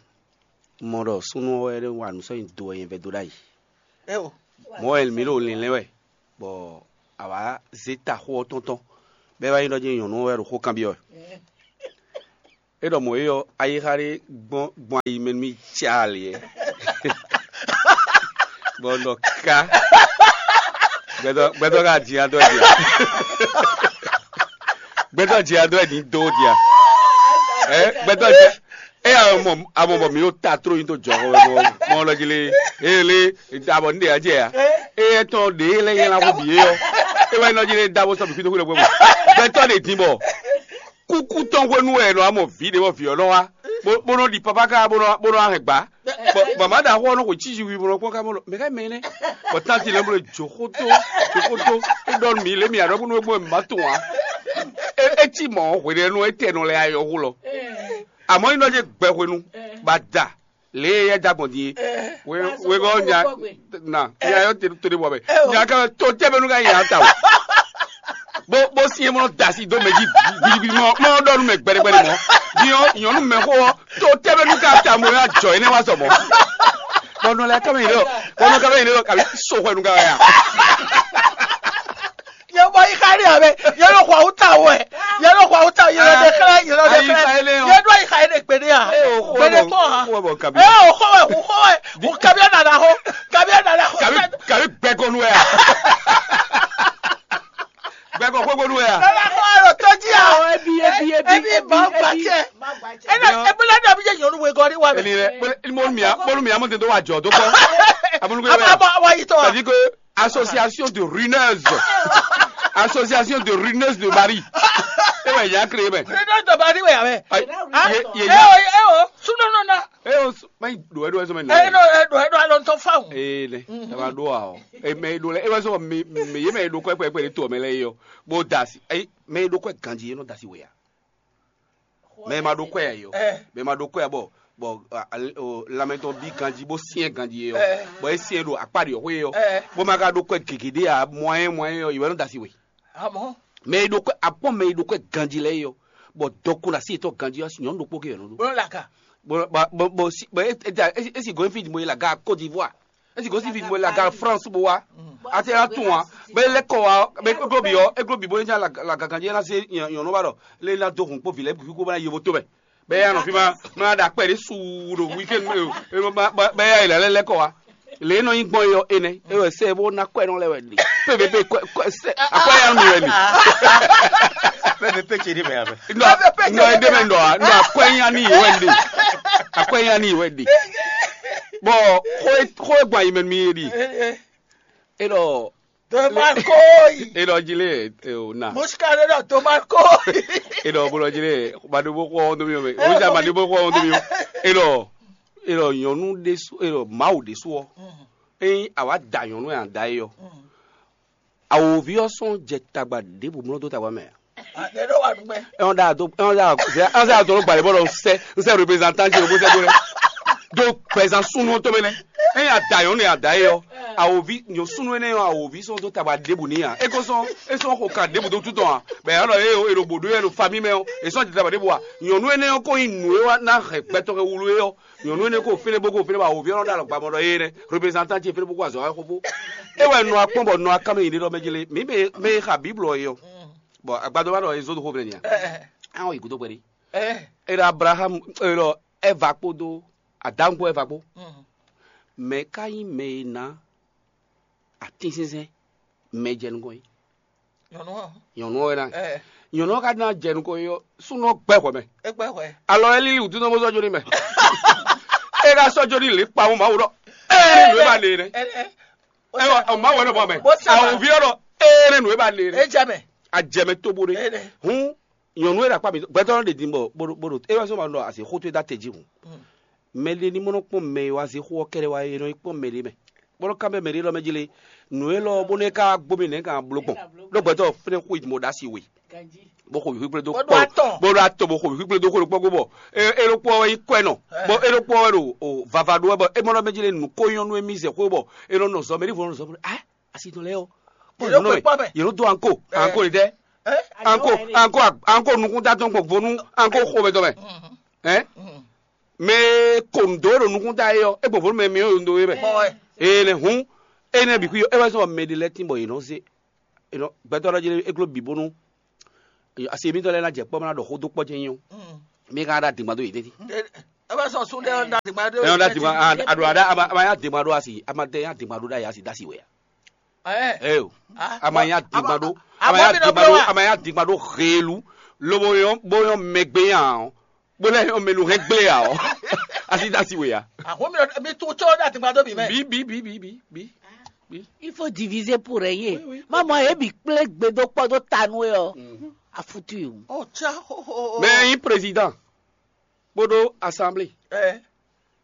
un mɔ ɖɔ súnnu ɔ́ wɛ é wa nǔ sɔ́ nyi do wɛ nyɛ vɛ́ dó ɖ'ayǐ. Mɔ̌ wɛ mǐ ɖo lǐnlɛ́n wɛ, bɔ a wǎ zé ta xó ɔ́ tɔ́n tɔn, bɔ é wá nyí ɖɔ jɛ́n nyɔ̌nu ɔ́ wɛ ɖo xó kanbyɔ́ wɛ. É ɖɔ mɔ̌ é ɔ́, ayixa ɖé gbɔn gbɔn ayi mɛ nú mì caalɛ. Bɔ un ɖɔ ká. Gbɛtɔ gbɛtɔ ka jǐ adɔ ɛ dia. Gbɛtɔ jǐ adɔ ɛ ní dó dia. Ɛ gbɛtɔ jǐ ɛ amɔ amɔ bɔ mi ɖo ta tró nyi tó jɔ xɔ mɔ mɔ lɔ jí lé. Ele abɔ ní ɖe adjɛ ya. Eyɛ tɔn ɖe lɛ yɛ la xɔ bi yɛ ɔ. E wɛ nɔ jí lé da bɔ sɔ bi fi tó xɔ lɛ gbɛ. Gbɛtɔ ɖe dín bɔ kúkú tɔn hwenu wɛ nɔ amɔ vǐ ɖe bɔ vǐ ɔ́ nɔ wá bó nɔ ɖi papa ká bó nɔ bó nɔ ahɛn gbá. Bɔ mama ɖaxó ɔ́ nɔ xwe cízi wi bó nɔ kpɔ́n ká mɔ mɛ ká mɛ nɛ. Bɔ tánti lɛ bó lɛ joxótó joxótó é ɖɔ nú mi lé mi aɖɔ bó nɔ gbɔn ma tún wa. É cí mɔ hwe ɖe nú étɛ nɔ lɛ ayɔ xó lɔ. Àmọ́ ní nɔ jẹ́ gbɛ hwenu ba da lě e é da gbɔn din é. Wegɔ́ nya na nya yɔ te to ɖe bɔ mɛ nya ka to tɛ bɛ nu ka nya ta o. Bó bó si mɔ dasi dó mɛ jí gbidigbidi mɔ mɔ ɖɔ nu mɛ gbɛdɛgbɛdɛ mɔ. Diɔ nyɔnu mɛ xó ɔ to tɛ bɛ nu ka ta mo ya jɔ yi ne wa sɔ mɔ. Bɔnɔ lɛ kama yi lɛ bɔnɔ kama yi lɛ kabi so xɔ nu ka ya. Yɛ bɔ yi xa ɖe abɛ yɛ lɔ xɔ awuta wɛ yɛ lɔ xɔ awuta yɛ lɔ ɖe xlɛ yɛ lɔ ɖe xlɛ yɛ ɖɔ yi xa ɖe gbeɖe a gbeɖe kpɔ ha. Ɛ o xɔ wɛ o xɔ wɛ o kabiya nana xɔ kabiya nana xɔ. Kabi gbɛkɔnu wɛ a. Gbɛkɔ xwégbónú wɛ a. Ɛ bá kɔ alo tɔjí a. Ebi ebi ebi ebi ebi. Ɛ na ebúlé dɔ bí jẹ nyɔnu wegɔ ni wa mi. Ènìyàn bólú mi amúndé tó wà jọ tó kọ́. Amúnúgbé wẹ̀. Aba wa yi tɔ wa. C'est-à-dire que association de runeuses. Association de runeuses de Marie. E wɛ ya créé mɛ. Runeuses de Marie wɛ ya mɛ. Ye ye ya. E o e o sunɔnɔ na. E o mɛ do e do e sɔmɛ na. E do e do e do alɔ ntɔ fáwọn. Ee ne. E ma do a o. E mɛ e do lɛ e wɛ sɔ mi mi ye mɛ e do kɔ ɛkpɛ ɛkpɛ de to mɛ lɛ yi o. Bo da si. Ayi mɛ e do kɔ ganji e nɔ da si wɛ ya. Mɛ e ma do kɔ ya yi o. Mɛ e ma do kɔ ya bɔ. bɔ lanmɛ tɔn bí ganjí bó syɛ́n ganjí é ɔ́, bɔ é syɛ́n ɖo akpá ɖě xwé é ɔ́, bó ma ka ɖó kwɛ gěgé ɖé ǎ, mɔyɛ́n mɔyɛ́n ɔ́, yě wɛ nɔ da asi we. Amɔ̌, Mɛ e ɖo kwɛ akpɔ́n mɛ e ɖo kwɛ ganjí lɛ́ɛ é ɔ́, bɔ dɔkun ɖo así yětɔn ganjí ɔ́, nyɔ̌nu ɖokpó ké wɛ nɔ ɖó. Bó nɔ laka. Bɔ bɔ bɔ si bɔ e e e si gɔn fi mo yi la ga Côte d'Ivoire, e si gɔn si fi mo yi la ga France bó wá. Ati la tún wa, bɛ lɛ kɔ wa, bɛ eglo bi ɔ, eglo bi bó ne nya la la gangan jɛ na se nyɔnu ba ɖɔ, le na do hun kpo vi lɛ bi kó bá na yevo to mɛ. Bɛ ya nɔ fi ma, ma da kpɛ de su ɖo weekend mɛ o, bɛ ya yi la lɛ lɛ kɔ wa. Le nɔ nyi gbɔn yɔ enɛ, e wɛ sɛ bó na kɔɛ nɔ lɛ wɛ ɖe. Pe pe pe kɔɛ kɔɛ sɛ akɔɛ ya mi wɛ ɖe. Pe pe pe ce ɖe mɛ ya mɛ. Nɔ nɔ ede mɛ nɔ a nɔ akɔɛ nya ni wɛ ɖe. Akɔɛ nya ni wɛ ɖe. Bɔ xó e xó e gbɔn ayi mɛ nú mì é ɖi. É ɖɔ Tomakoyi. É ɖɔ jí lé e o na. Musikade ɖɔ tomakoyi. É ɖɔ bó ɖɔ jí lé maɖó bó xɔ ɔ́ dó mì ɔ́ mɛ. Ó jà maɖó bó xɔ ɔ́ dó mì ɔ́. É ɖɔ é ɖɔ nyɔ̌nu ɖésú é ɖɔ Mawu ɖésú ɔ́. Ényí a wǎ da nyɔ̌nu e a da é ɔ́, awǒvi ɔ́ sɔ́ jɛ tagba ɖěbǔ mlɔ́ dó tagba mɛ ǎ. Ɛ ɔ́ ɖa do ɛ ɔ́ ɖa ɛ ɔ́ sɛ adɔ ló gbalɛ bɔ lɔ sɛ n sɛ représentante ló bó sɛ dó lɛ do gbɛzan súnú tó mɛ nɛ ɛ yà da yɔn ne yà da yɛ ɔ awovi nyɔ súnú ɛnɛ ɔ awovi sɔn dó taba ɖěbù ní yà é kó sɔn é sɔn xo kan ɖěbù dó tútɔ hàn bɛ yà lɔ yɛ o èrò bòdó yɛ lo fami mɛ ɔ è sɔn jɛ taba ɖěbù wa nyɔnu ɛnɛ ɔ kó nyi nǔ e wa ná hɛn gbɛtɔ kɛ wulu é ɔ nyɔnu ɛnɛ kó fínɛ bó kó fínɛ bɔ awovi ɔnɔ ɖo alɔ gbamɔ ɖɔ yɛ nɛ représentante fínɛ bó kó azɔ wá xófó é wɛ nɔ akpɔn bɔ nɔ akámɛ yi ɖe ɖɔ mɛ jele mí mɛ mɛ xa bíblɔ yɛ ɔ bɔ agbadɔ ma ɖɔ ezɔ́ ɖo xó mɛ nìyà. Àwọn yìí kúdó kpɛɖé. Ɛ ɖo Abraham ɛ ɖɔ Ɛva kpódó Adam kpó Ɛva kpó. Mɛ ka nyí mɛ e ná atínsínsɛ́n mɛ jɛ nukɔn yìí? Nyɔnu ɔ́. Nyɔnu ɔ́ wɛ ná. Ɛ Nyɔnu ɔ́ ka ná jɛ nukɔn yìí ɔ́, súnnu ɔ́ gbɛ hwɛ mɛ. É gbɛ hwɛ. Alɔ ɛ lílí wǔtú nɔ́ bó sɔ́ jó ní mɛ. É ká sɔ́ jó ní lě kpawó Mawu ɖɔ. Ɛ nú é ba lě nɛ. Ɛ ɛ Ɛ wɔ ɔmá wɛ nɔ bɔ mɛ. Bó sábà. Àwọn òbí ọ̀rọ̀ ɛ nú é ba lě É nɛ. Jẹ mɛ. Àjẹmẹ tó bó dé. Ɛ nɛ. Hun nyɔnu e ɖo akpa mi gbɛtɔ ɖe din bɔ bó ɖo bó ɖo e wá sɔ ma ɖɔ asi xótó e da te jí hun mɛ ɖe ní mɔ nɔ kpɔn mɛ e wá zé xó ɔ́ kɛɖɛ wá e nɔ yi kpɔn mɛ ɖe mɛ bó nɔ kan bɛ mɛ ɖe lɔ mɛ jí le nǔ e lɔ bó nɔ ka gbó mi nɛ kan bló gbɔn ɖó gbɛtɔ fɛnɛ xó yi mo ɖa si we bó xo wǐwíkplé dó Bó ɖó kpɔ atɔn. Bó ɖó atɔn bó xo wǐwíkplé dó xó ɖokpɔ gbó bɔ e e ɖokpɔ wá yi kɔɛ nɔ bɔ e ɖokpɔ wɛ ɖo o vava ɖó wɛ bɔ e mɔ nɔ mɛ jí le nǔ ko nyɔnu e mi zɛ xó bɔ e nɔ nɔ zɔ mɛ ɖěvo nɔ zɔ mɔ ah asi tɔn lɛ yɔ Yě ló pe kpɔ́ mɛ. Yě ló dó anko anko ɖe tɛ anko anko anko nukúnta tɔn gbɔn vonu anko xo mɛ tɔn mɛ ɛ mɛ ko ndo ɖo nukúnta yɛ yɔ e gbɔn vonu mɛ mi yɔ ndo yɛ mɛ Mɔ ɛ. Ee nɛ hun e nɛ bi kui yɔ e wɛ sɔ mɛ ɖe lɛ tin bɔ yě nɔ se gbɛtɔ ɖɔ jɛ e glo bi bonu asi mitɔ lɛ na jɛ kpɔ mana ɖɔ xó dó kpɔ jɛ nyi o mi ka ɖa dingba do yě tɛti Ebe sɔ sun ɖe ɔn da dingba ɖo. Ɛn ɔn da dingba a a ɖo a ɖa a ma a ma ya dingba ɖo asi a ma tɛ ya dingba ɖo ɖa ya si da si wɛ ya. Ɛ Ɛ o. A ma ya dingba ɖo a ma ya dingba ɖo a ma ya dingba ɖo helu lobo yɔ bo yɔ mɛgbe ya o bo lɛ yɔ mɛlu hɛn gble ya o asi da si wɛ ya. Ahun mi mi tu tsɔ da dingba ɖo mi mɛ. Bi bi bi bi bi bi. Il faut diviser pour régner. Oui, oui. Maman, ebi kple gbedo kpɔdo tanu yɔ. Afutu yo. Oh tsa ho ho. Mɛ yin président. Kpódó assemblée Ɛ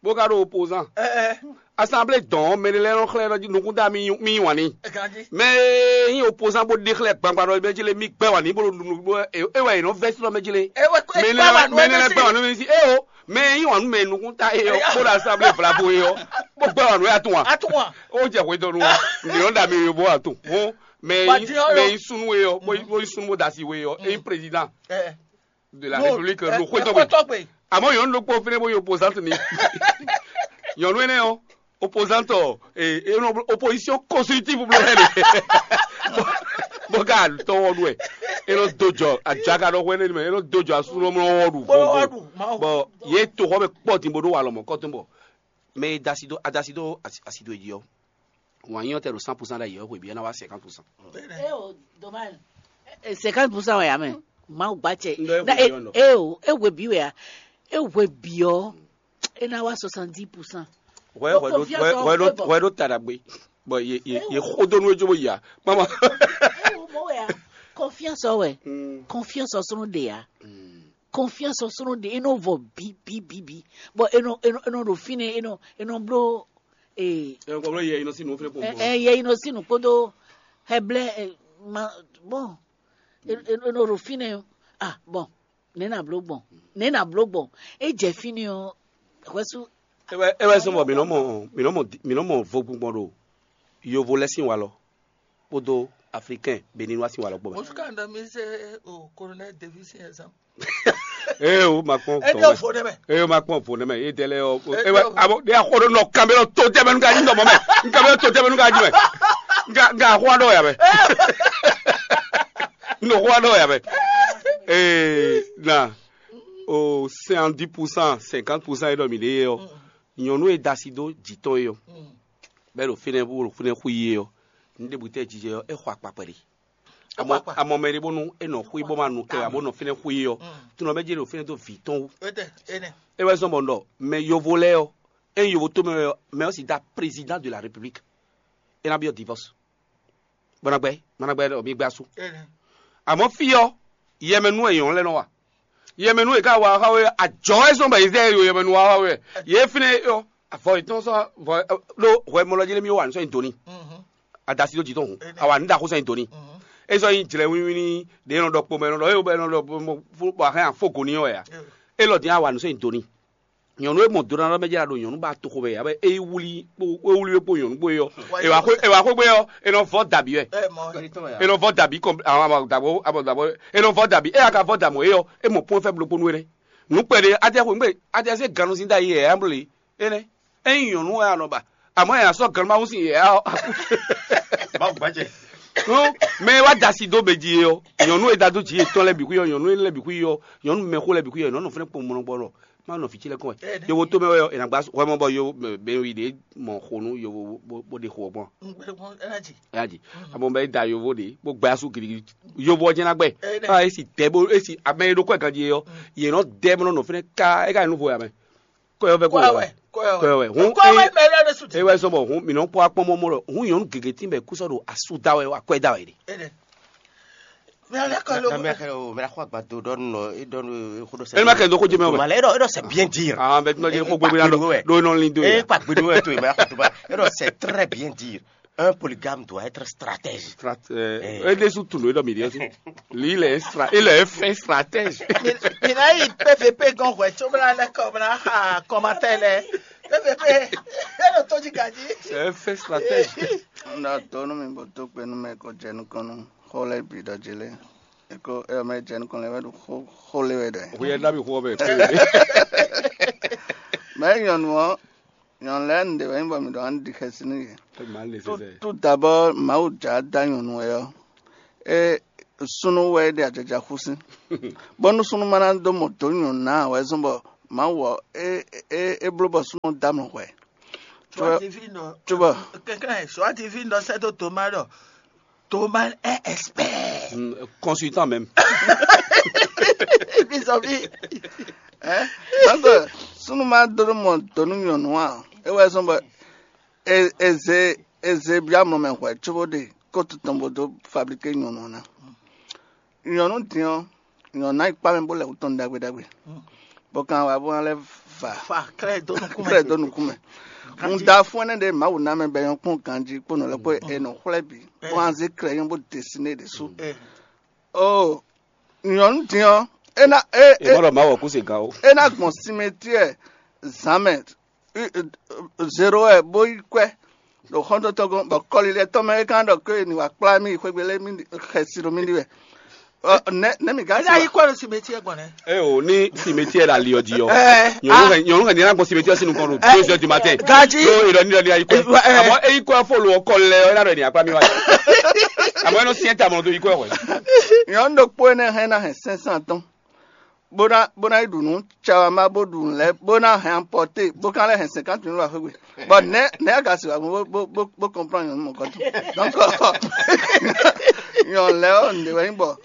bó ka ɖó opposant ɛ ɛ. Assemblée dɔn mɛ ɖé lɛ́ɛ nɔ xlɛ́ nɔ jí nukún dá mì mì yí wǎn ní. Ɛ kan jí. Mɛ e nyí opposant bó ɖe xlɛ́ gbangba ɖɔ mɛ jí lé mì gbɛ́ wǎn ní bó ɖo nunu bó é wɛ è nɔ vɛ́ sí nɔ mɛ jí lé. Ɛ wɛ kó mɛ ɛ ní gbá wà nú mɛ ní ɛ lɛ gbɛ́ wǎn nú mì sí é o mɛ e nyí wǎn nú mɛ nukún ta é ɔ bó ɖo assemblée vlavo é ɔ bó gbɛ́ wǎn nú ɛ atún wa. Atún wa. Ó jɛ hwedɔnu wa nìyɔn ɖa mi yó bó atún hɔn mɛ Wà á dín ɔyɔ. Mɛ yí sunu é ɔ bó yí sunu bó dasi wé é ɔ é yí président. Ɛ de la République ló xwé tɔgbe. Àmọ́ yɔn ló kpó fínɛ bó yọ opposant ni. Yɔn ló ɛnɛ ɔ opposant ɔ opposition constructive blo hɛ de. Bó ká tɔwọ́ lu ɛ. E ló do jɔ àjàkà lọ hwɛ ne mɛ e ló do jɔ asúnú mlɔ wɔ ɖu. Bɔn yé to xɔ bɛ kpɔ din bó ɖó wà lɔmɔ kɔtɔn bɔ mɛ e dasi do adasi do asi do edzi ɔ. Wǎn nyí ɔ́ tɛ ɖo cent pour cent ɖ'ayǐ ɔ́, hweví ɔ́ ná wá cinquante pour cent. Eo dommage. Cinquante pour cent wɛ ya mɛ. Mawu gba cɛ. Ŋɖɔ e hweví ɔ́ nɔ. Eo e hweví wɛ ya. E hweví ɔ. E ná wá soixante-dix pour cent. Hwɛ hwɛ ɖo hwɛ hwɛ ɖo hwɛ ɖo ta ɖagbe. Bɔn ye ye ye xo dó nú edzó bó ya. Mama. Ewo mɔ wɛ ya. Confiance ɔ wɛ. Confiance ɔ sɔnɔ de ya. Confiance ɔ sɔnɔ de e nɔ vɔ bi bi bi bi. Bɔn e nɔ e nɔ e nɔ ɖo fínɛ e nɔ e nɔ bló. Ee. Ɛ kɔ bɔ yɛ inɔ si nɔ fɛnɛ kɔ bɔ. Ɛ yɛ inɔ si nɔ kpódó hɛblɛ ɛ ma bɔn e e nɔ ɖo fínɛ ah bɔn nɛ na bló gbɔn nɛ na bló gbɔn e jɛ fínɛ ɔ Hwɛsu. É wɛ é wɛ zɔ́n bɔ mǐ nɔ mɔ mǐ nɔ mɔ mǐ nɔ mɔ vogbingbɔn ɖo yovo lɛ́ɛ sín walɔ kpódó aflikɛn beninois sín walɔ kpó mɛ. Musu kan ɖɔ mi se o colonel Davis yẹn zan. Ee o ma kpɔn E tɔn ɖe mɛ. fo ne mɛ. Ee o ma kpɔn vo ne mɛ. Ee dɛ lɛ ɔ. Ee, Ee wɛ ɖe o. Abo de axɔ ɖo nɔ kanbɛ lɔ to tɛ mɛ nu ka dzi nɔ mɔ mɛ. Kanbɛ lɔ to tɛ mɛ nu ka dzi mɛ. Nga nga axɔ ɖɔ ya mɛ. Nɔ xɔ ɖɔ ya mɛ. Ee na o cinquante pour cent cinquante pour cent e ɖɔ mi ɖe yɛ ɔ. Nyɔnu e da asi dó jǐ tɔn yɛ ɔ. Bɛ ɖo fínɛ́ bó ɖo fínɛ́ xú yé ɔ, ní ɖěbǔ tɛ́ jijɛ ɔ́, é xɔ akpakpɛ ɖé. Amɔ amɔ mɛ ɖé bónú é nɔ xwí bó ma nu kɛ abo nɔ fínɛ́ xwí ɔ́, tunɔ mɛ jɛ ɖo fínɛ́ dó vǐ tɔn wú. Ete ene. É wɛ zɔ́n bɔ un ɖɔ mɛ yovo lɛ́ɛ ɔ́, é nyí yovo tómɛ wɛ ɔ́, mɛ ɔ́ sì dá président de la république. É ná byɔ́ divorce. Bɔnagbɛ, bɔnagbɛ ɖɔ mi gbɛ asú. Ene. Àmọ́ fí ɔ́, yɛmɛnú wɛ nyɔ̌nu lɛ́ɛ nɔ wa. Yɛmɛnú e ka wa xá we, ajɔ wɛ zɔ́n bɔ yě zɛ yo yɛmɛnú wa xá we. Yě fínɛ́ ɔ́, avɔ yětɔn sɔ́ vɔ ɖó hwɛ mɔlɔ jí lé mi wà ní sɔ́ nyi doni. Adasi ɖó jǐ tɔn hun, awa ní ɖaxó sɔ́ nyi doni. É sɔ́ nyi jlɛ wínwín ní ɖě nɔ ɖɔ kpo mɛ nɔ ɖɔ é bɔ é nɔ ɖɔ bɔ ahɛn afó go ní ɔ́ wɛ a. É lɔ dín awa ní sɔ́ nyi doni. Nyɔ̌nu e mɔ do ná ɖɔ mɛ jɛ ɖo nyɔ̌nu ba toxo mɛ abe é wuli kpó é wuli kpó nyɔ̌nu kpó yɔ. Ewa xó ewa xó gbé yɔ, e nɔ vɔ dabi wɛ. E nɔ vɔ dabi kɔn àwọn dabo àwọn dabo e nɔ vɔ dabi e aka vɔ damɔ e yɔ e mɔ pɔn fɛ blokponu wɛ. Nukpɛ ɖe adé xo ŋgbɛ adé se ganu sin da yi yɛ amble ene. Eyin nyɔnu wɛ anɔ ba àmọ́ yà sɔ ganu ma wúsi yɛ. Mawu gbajɛ. Mɛ wa dasi dó bɛ ji yɔ nyɔnu e da dó ji yɛ tɔn lɛ bi kú yɔ nyɔnu lɛ bi kú yɔ nyɔnu mɛ xó lɛ bi kú yɔ nyɔnu fɛnɛ kpɔn mɔnɔ gbɔ lɔ. Má nɔ fí tí lɛ́kɔn wɛ. Yovo tó mɛ wɛ ɔ, è nǎ gbá wɛ mɔ bɔ yo bɛnwi ɖě mɔ xonu yovo bó ɖe xo ɔgbɔn. Ɛ yá dzi. Amɔ bɛ da yovo ɖě bó gbɛ asú gidigidi. Yovo ɔ́ jẹ́ ná gbɛ. Ká esi dɛ bó esi amɛ e ɖo kɔ ganji yɛ ɔ, yě nɔ dɛ bó nɔ nɔ fɛnɛ ká é ká nuvo yà mɛ. Kɔ yɔ fɛ kó Kɔɛ wɛ. Wɛ. Kɔɛ Kɔ wɛ. Hun Kɔɛ wɛ mɛ lɛ ɖe su. E wɛ sɔbɔ hun mi nɔ kpɔ akpɔ mɔmɔ lɔ hun nyɔnu gege tí bɛ kúsɔ ɖo asu da wɛ wa kɔɛ da wɛ ɖe. Ene. Mɛ lɛ kɔ lo. Mɛ xɔ agbado ɖɔ nɔ e ɖɔ nɔ e xo ɖo sɛ. Ɛ ma kɛ do ko jɛ mɛ wɛ. Mala e ɖɔ e ɖɔ c'est bien dire. Ah bɛ tuma jɛ ko gbogbo na do do nɔ lin do E ye. kpa gbeɖo wɛ to e ma xɔ to ba e ɖɔ c'est très bien dire. Un polygame doit être stratège. Strat- eh, E de su tun do e dɔ mi de su. Lui il est stra il est fin stratège. Mina yi P V P gɔn hwɛ tso bla lɛ kɔ bla ha kɔmatɛ lɛ P V P e ɖo to jí gaji. C'est un fin stratège. N ɖo ato nú mi bó tó kpe nú mɛ ko jɛ nukɔn nú xó lɛ́ɛ bǐ ɖɔ jí lé. Eko ɛ mɛ jɛ nukɔn lɛ wɛ ɖo xó xó lé wɛ ɖɔ. Vous êtes là, vous pouvez. Mɛ nyɔnu ɔ́, nyɔnu lɛ́ɛ nu ɖe wɛ nyí bɔ mi ɖɔ an ɖi xɛsi nú yě. Mal nécessaire. Tout d'abord Mawu jǎ dá nyɔnu wɛ ɔ́, é súnnu wɛ é ɖe ajaja xú sín. Bɔ́ nú súnnu ma ná dó mɔ dǒ nyɔ̌nu ná ǎ wɛ zɔ́n bɔ Mawu ɔ́, é é é bló bɔ súnnu ɔ́ dó amlɔ hwɛ. Soit divine. Tu vois. Quelqu'un est soit divine dans cette tomado. Thomas est expert. Mm, Consultant même. Vis-à-vis. Hein? Donc, súnnu ma dó mɔ dǒ nú nyɔ̌nu ǎ, é wɛ zɔ́n bɔ é é zé é zé byɔ́ amlɔ mɛ hwɛ cóbó ɖe kótu tɔn bó dó fablíké nyɔ̌nu ɔ́ ná. Nyɔ̌nu din ɔ́, nyɔ̌nu ná yi kpá mɛ bó lɛ wǔ tɔn ɖagbe ɖagbe. Bó kan wá bó ná lɛ́ va Fa crée dó nukún kplɛ mɛ. Dó nukún mɛ. Un da fún ɛnɛ ɖe Mawu ná mɛ bɛ nyɔ́ kpɔn ganjí kpó nɔ lɛ́ kpó è nɔ xwlɛ́ bǐ bó ná zé klɛ nyɔ́ bó desi nɛ ɖésú. O nyɔ̌nu din ɔ́, é ná é é Ìmọ̀ràn máa wọ̀ kú sí gan o. É ná gbɔn simetiɛ zǎn mɛ zero wɛ bó yi kwɛ ɖo xɔ́ntɔ́tɔ́ gɔ́n bɔ kɔlilɛ tɔn mɛ é kan ɖɔ ké ni wà kplá mì xwégbe lé mì xɛsi ɖo mì ɖi wɛ. Ɔ, nɛ nɛ mi gán Eza yi kɔ ɖo simetiɛ gbɔn nɛ. Ɛ o ní simetiɛ la li ɔdi ɔ. Ɛ, Nyɔnu hɛn nyɔnu hɛn ní lágbɔn simetiɛ sínú kɔn ɖo deux heures du matin. Gaji. Ɖo ìlọ ní ìlọ ní ayikɔ. Ɛ, ɛ. Àmọ́ eyikɔ fo lo ọkọ lɛ ọ yàrá ènìyàn pa mi wá. Àmọ́ ẹnu siẹ ta mọ tó yikọ ẹ wẹ. Nyɔnu ɖokpó énɛ́ hɛn ná hɛn cinq cents tɔn bó ná bó ná yi ɖu nǔ cawa má bó ɖu nǔ lɛ́ɛ bó ná hɛn emporter bó ká lɛ́ hɛn cinquante mille wá xwégbe. Bon, nɛ nɛ aga si wa bó bó bó bó comprendre nyɔnu mɔgɔtɔ. Donc nyɔnu lɛ ɔ nde wɛ nyí bɔ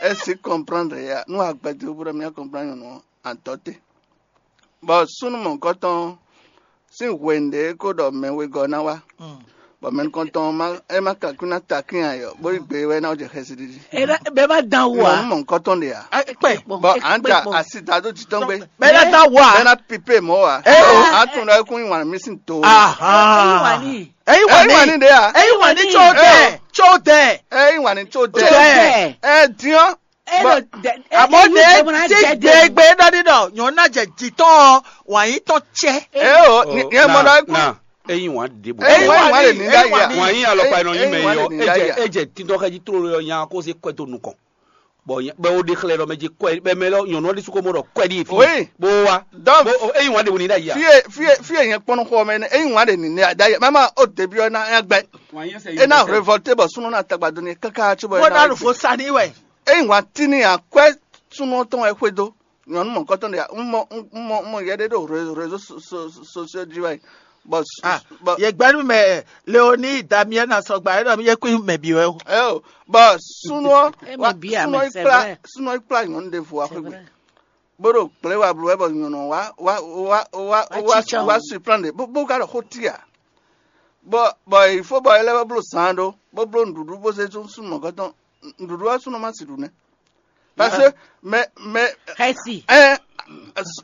esi comprendre ya nu agbɛdɛ bó ɖɔ mía comprendre nyɔnu ɔ antɔ te. Bon, sunu mɔgɔtɔ si hwe nde ko ɖɔ mɛ wegɔ na wa. Bon, mɛ nukɔntɔn ma e ma kakuna takin ayɔ bó yi gbe wɛ na jɛ xɛsi ɖiɖi. Bɛɛ ma dan wo Nyɔnu a. Mɔgɔtɔ de ya. Kpɛ. Bon, an ta asi da do titɔn gbe. Bɛɛ na dan wo a. Bɛna pipe mɔ wa. Eh, oh. An tun ɖɔ ekun yi wan mi sin to. Aha. Eyi Eyi wani. wani de ya. Eyi wani tso dɛ. Tso dɛ. Eyi wani tso de. Tso dɛ. Ɛ diɔ. Amɔ̌ nɛ̌ tí gběgbé ɖɔ ɖi ɖɔ nyɔ̌ná jɛ jǐ tɔn ɔ́, wǎn yí tɔn cɛ. Eo, nyɛ mɔ ɖɔ é kú. Na, eyin wǎn ɖěbǔ. Eyin wǎn lè ní ɖ'ayǐ a? Wǎn yí alɔkpa e nɔ nyí mɛ é ɔ́, é jɛ é jɛ títɔ́ xɛ jí tlóló ɔ́ nya kó zé kwɛ dó nukɔn. Bɔ bɛ wo ɖe xlɛ́ ɖɔ mɛ jí kwɛ bɛ mɛ lɔ nyɔ̌nu ɔ́ ɖésú ko mɔ ɖɔ kwɛ ɖi fi. Oui. Bó wá. Donc, bó eyin wǎn ɖě wú ní ɖ'ayǐ a? Fie fie fie nyɛ kpɔn nɔ xɔ mɛ nɛ eyin wǎn ɖe ní ɖ'ayǐ mama o début ɔ́ ná nya gbɛ. E ná révolté bɔ súnú ná tagba dó ní káká tso bɔ bó ná lufo sa ní wɛ. Eyin wǎn tíní akwɛ súnú tɔn wɛ xwedó nyɔ̌nu mɔ̌kɔtɔn ɖe un mɔ un mɔ un mɔ yɛ ɖé ɖo réseau sociaux jí wɛ. Bɔ Ah, bɔ yɛ gbɛnu mɛ Leoni Damien na sɔgba e ɖɔ mi yɛ kún mɛ bi wɛ o. Eo, bɔ súnú ɔ́ Emi wá- bia súnú mɛ, ɔ́ yi c'est kplá vrai. Súnú ɔ́ yi kplá nyɔ̌nu ɖěvo wá C'est xwé gbe. Vrai. Bó ɖo gblě wa bló wɛ bɔ nyɔ̌nu ɔ́ wá wá wá wá Wá wá tsitsɔ. Wá suplan ɖe bó bó ka ɖo xó tí a. Bɔ bɔ il faut bɔ é lɛ́ wá bló zaan ɖó bó bló nǔɖuɖu bó zé súnú mɔ̌kɔtɔn nǔɖuɖu wá súnú má si ɖu nɛ́. Parce que mɛ mɛ Xɛsi. Ɛ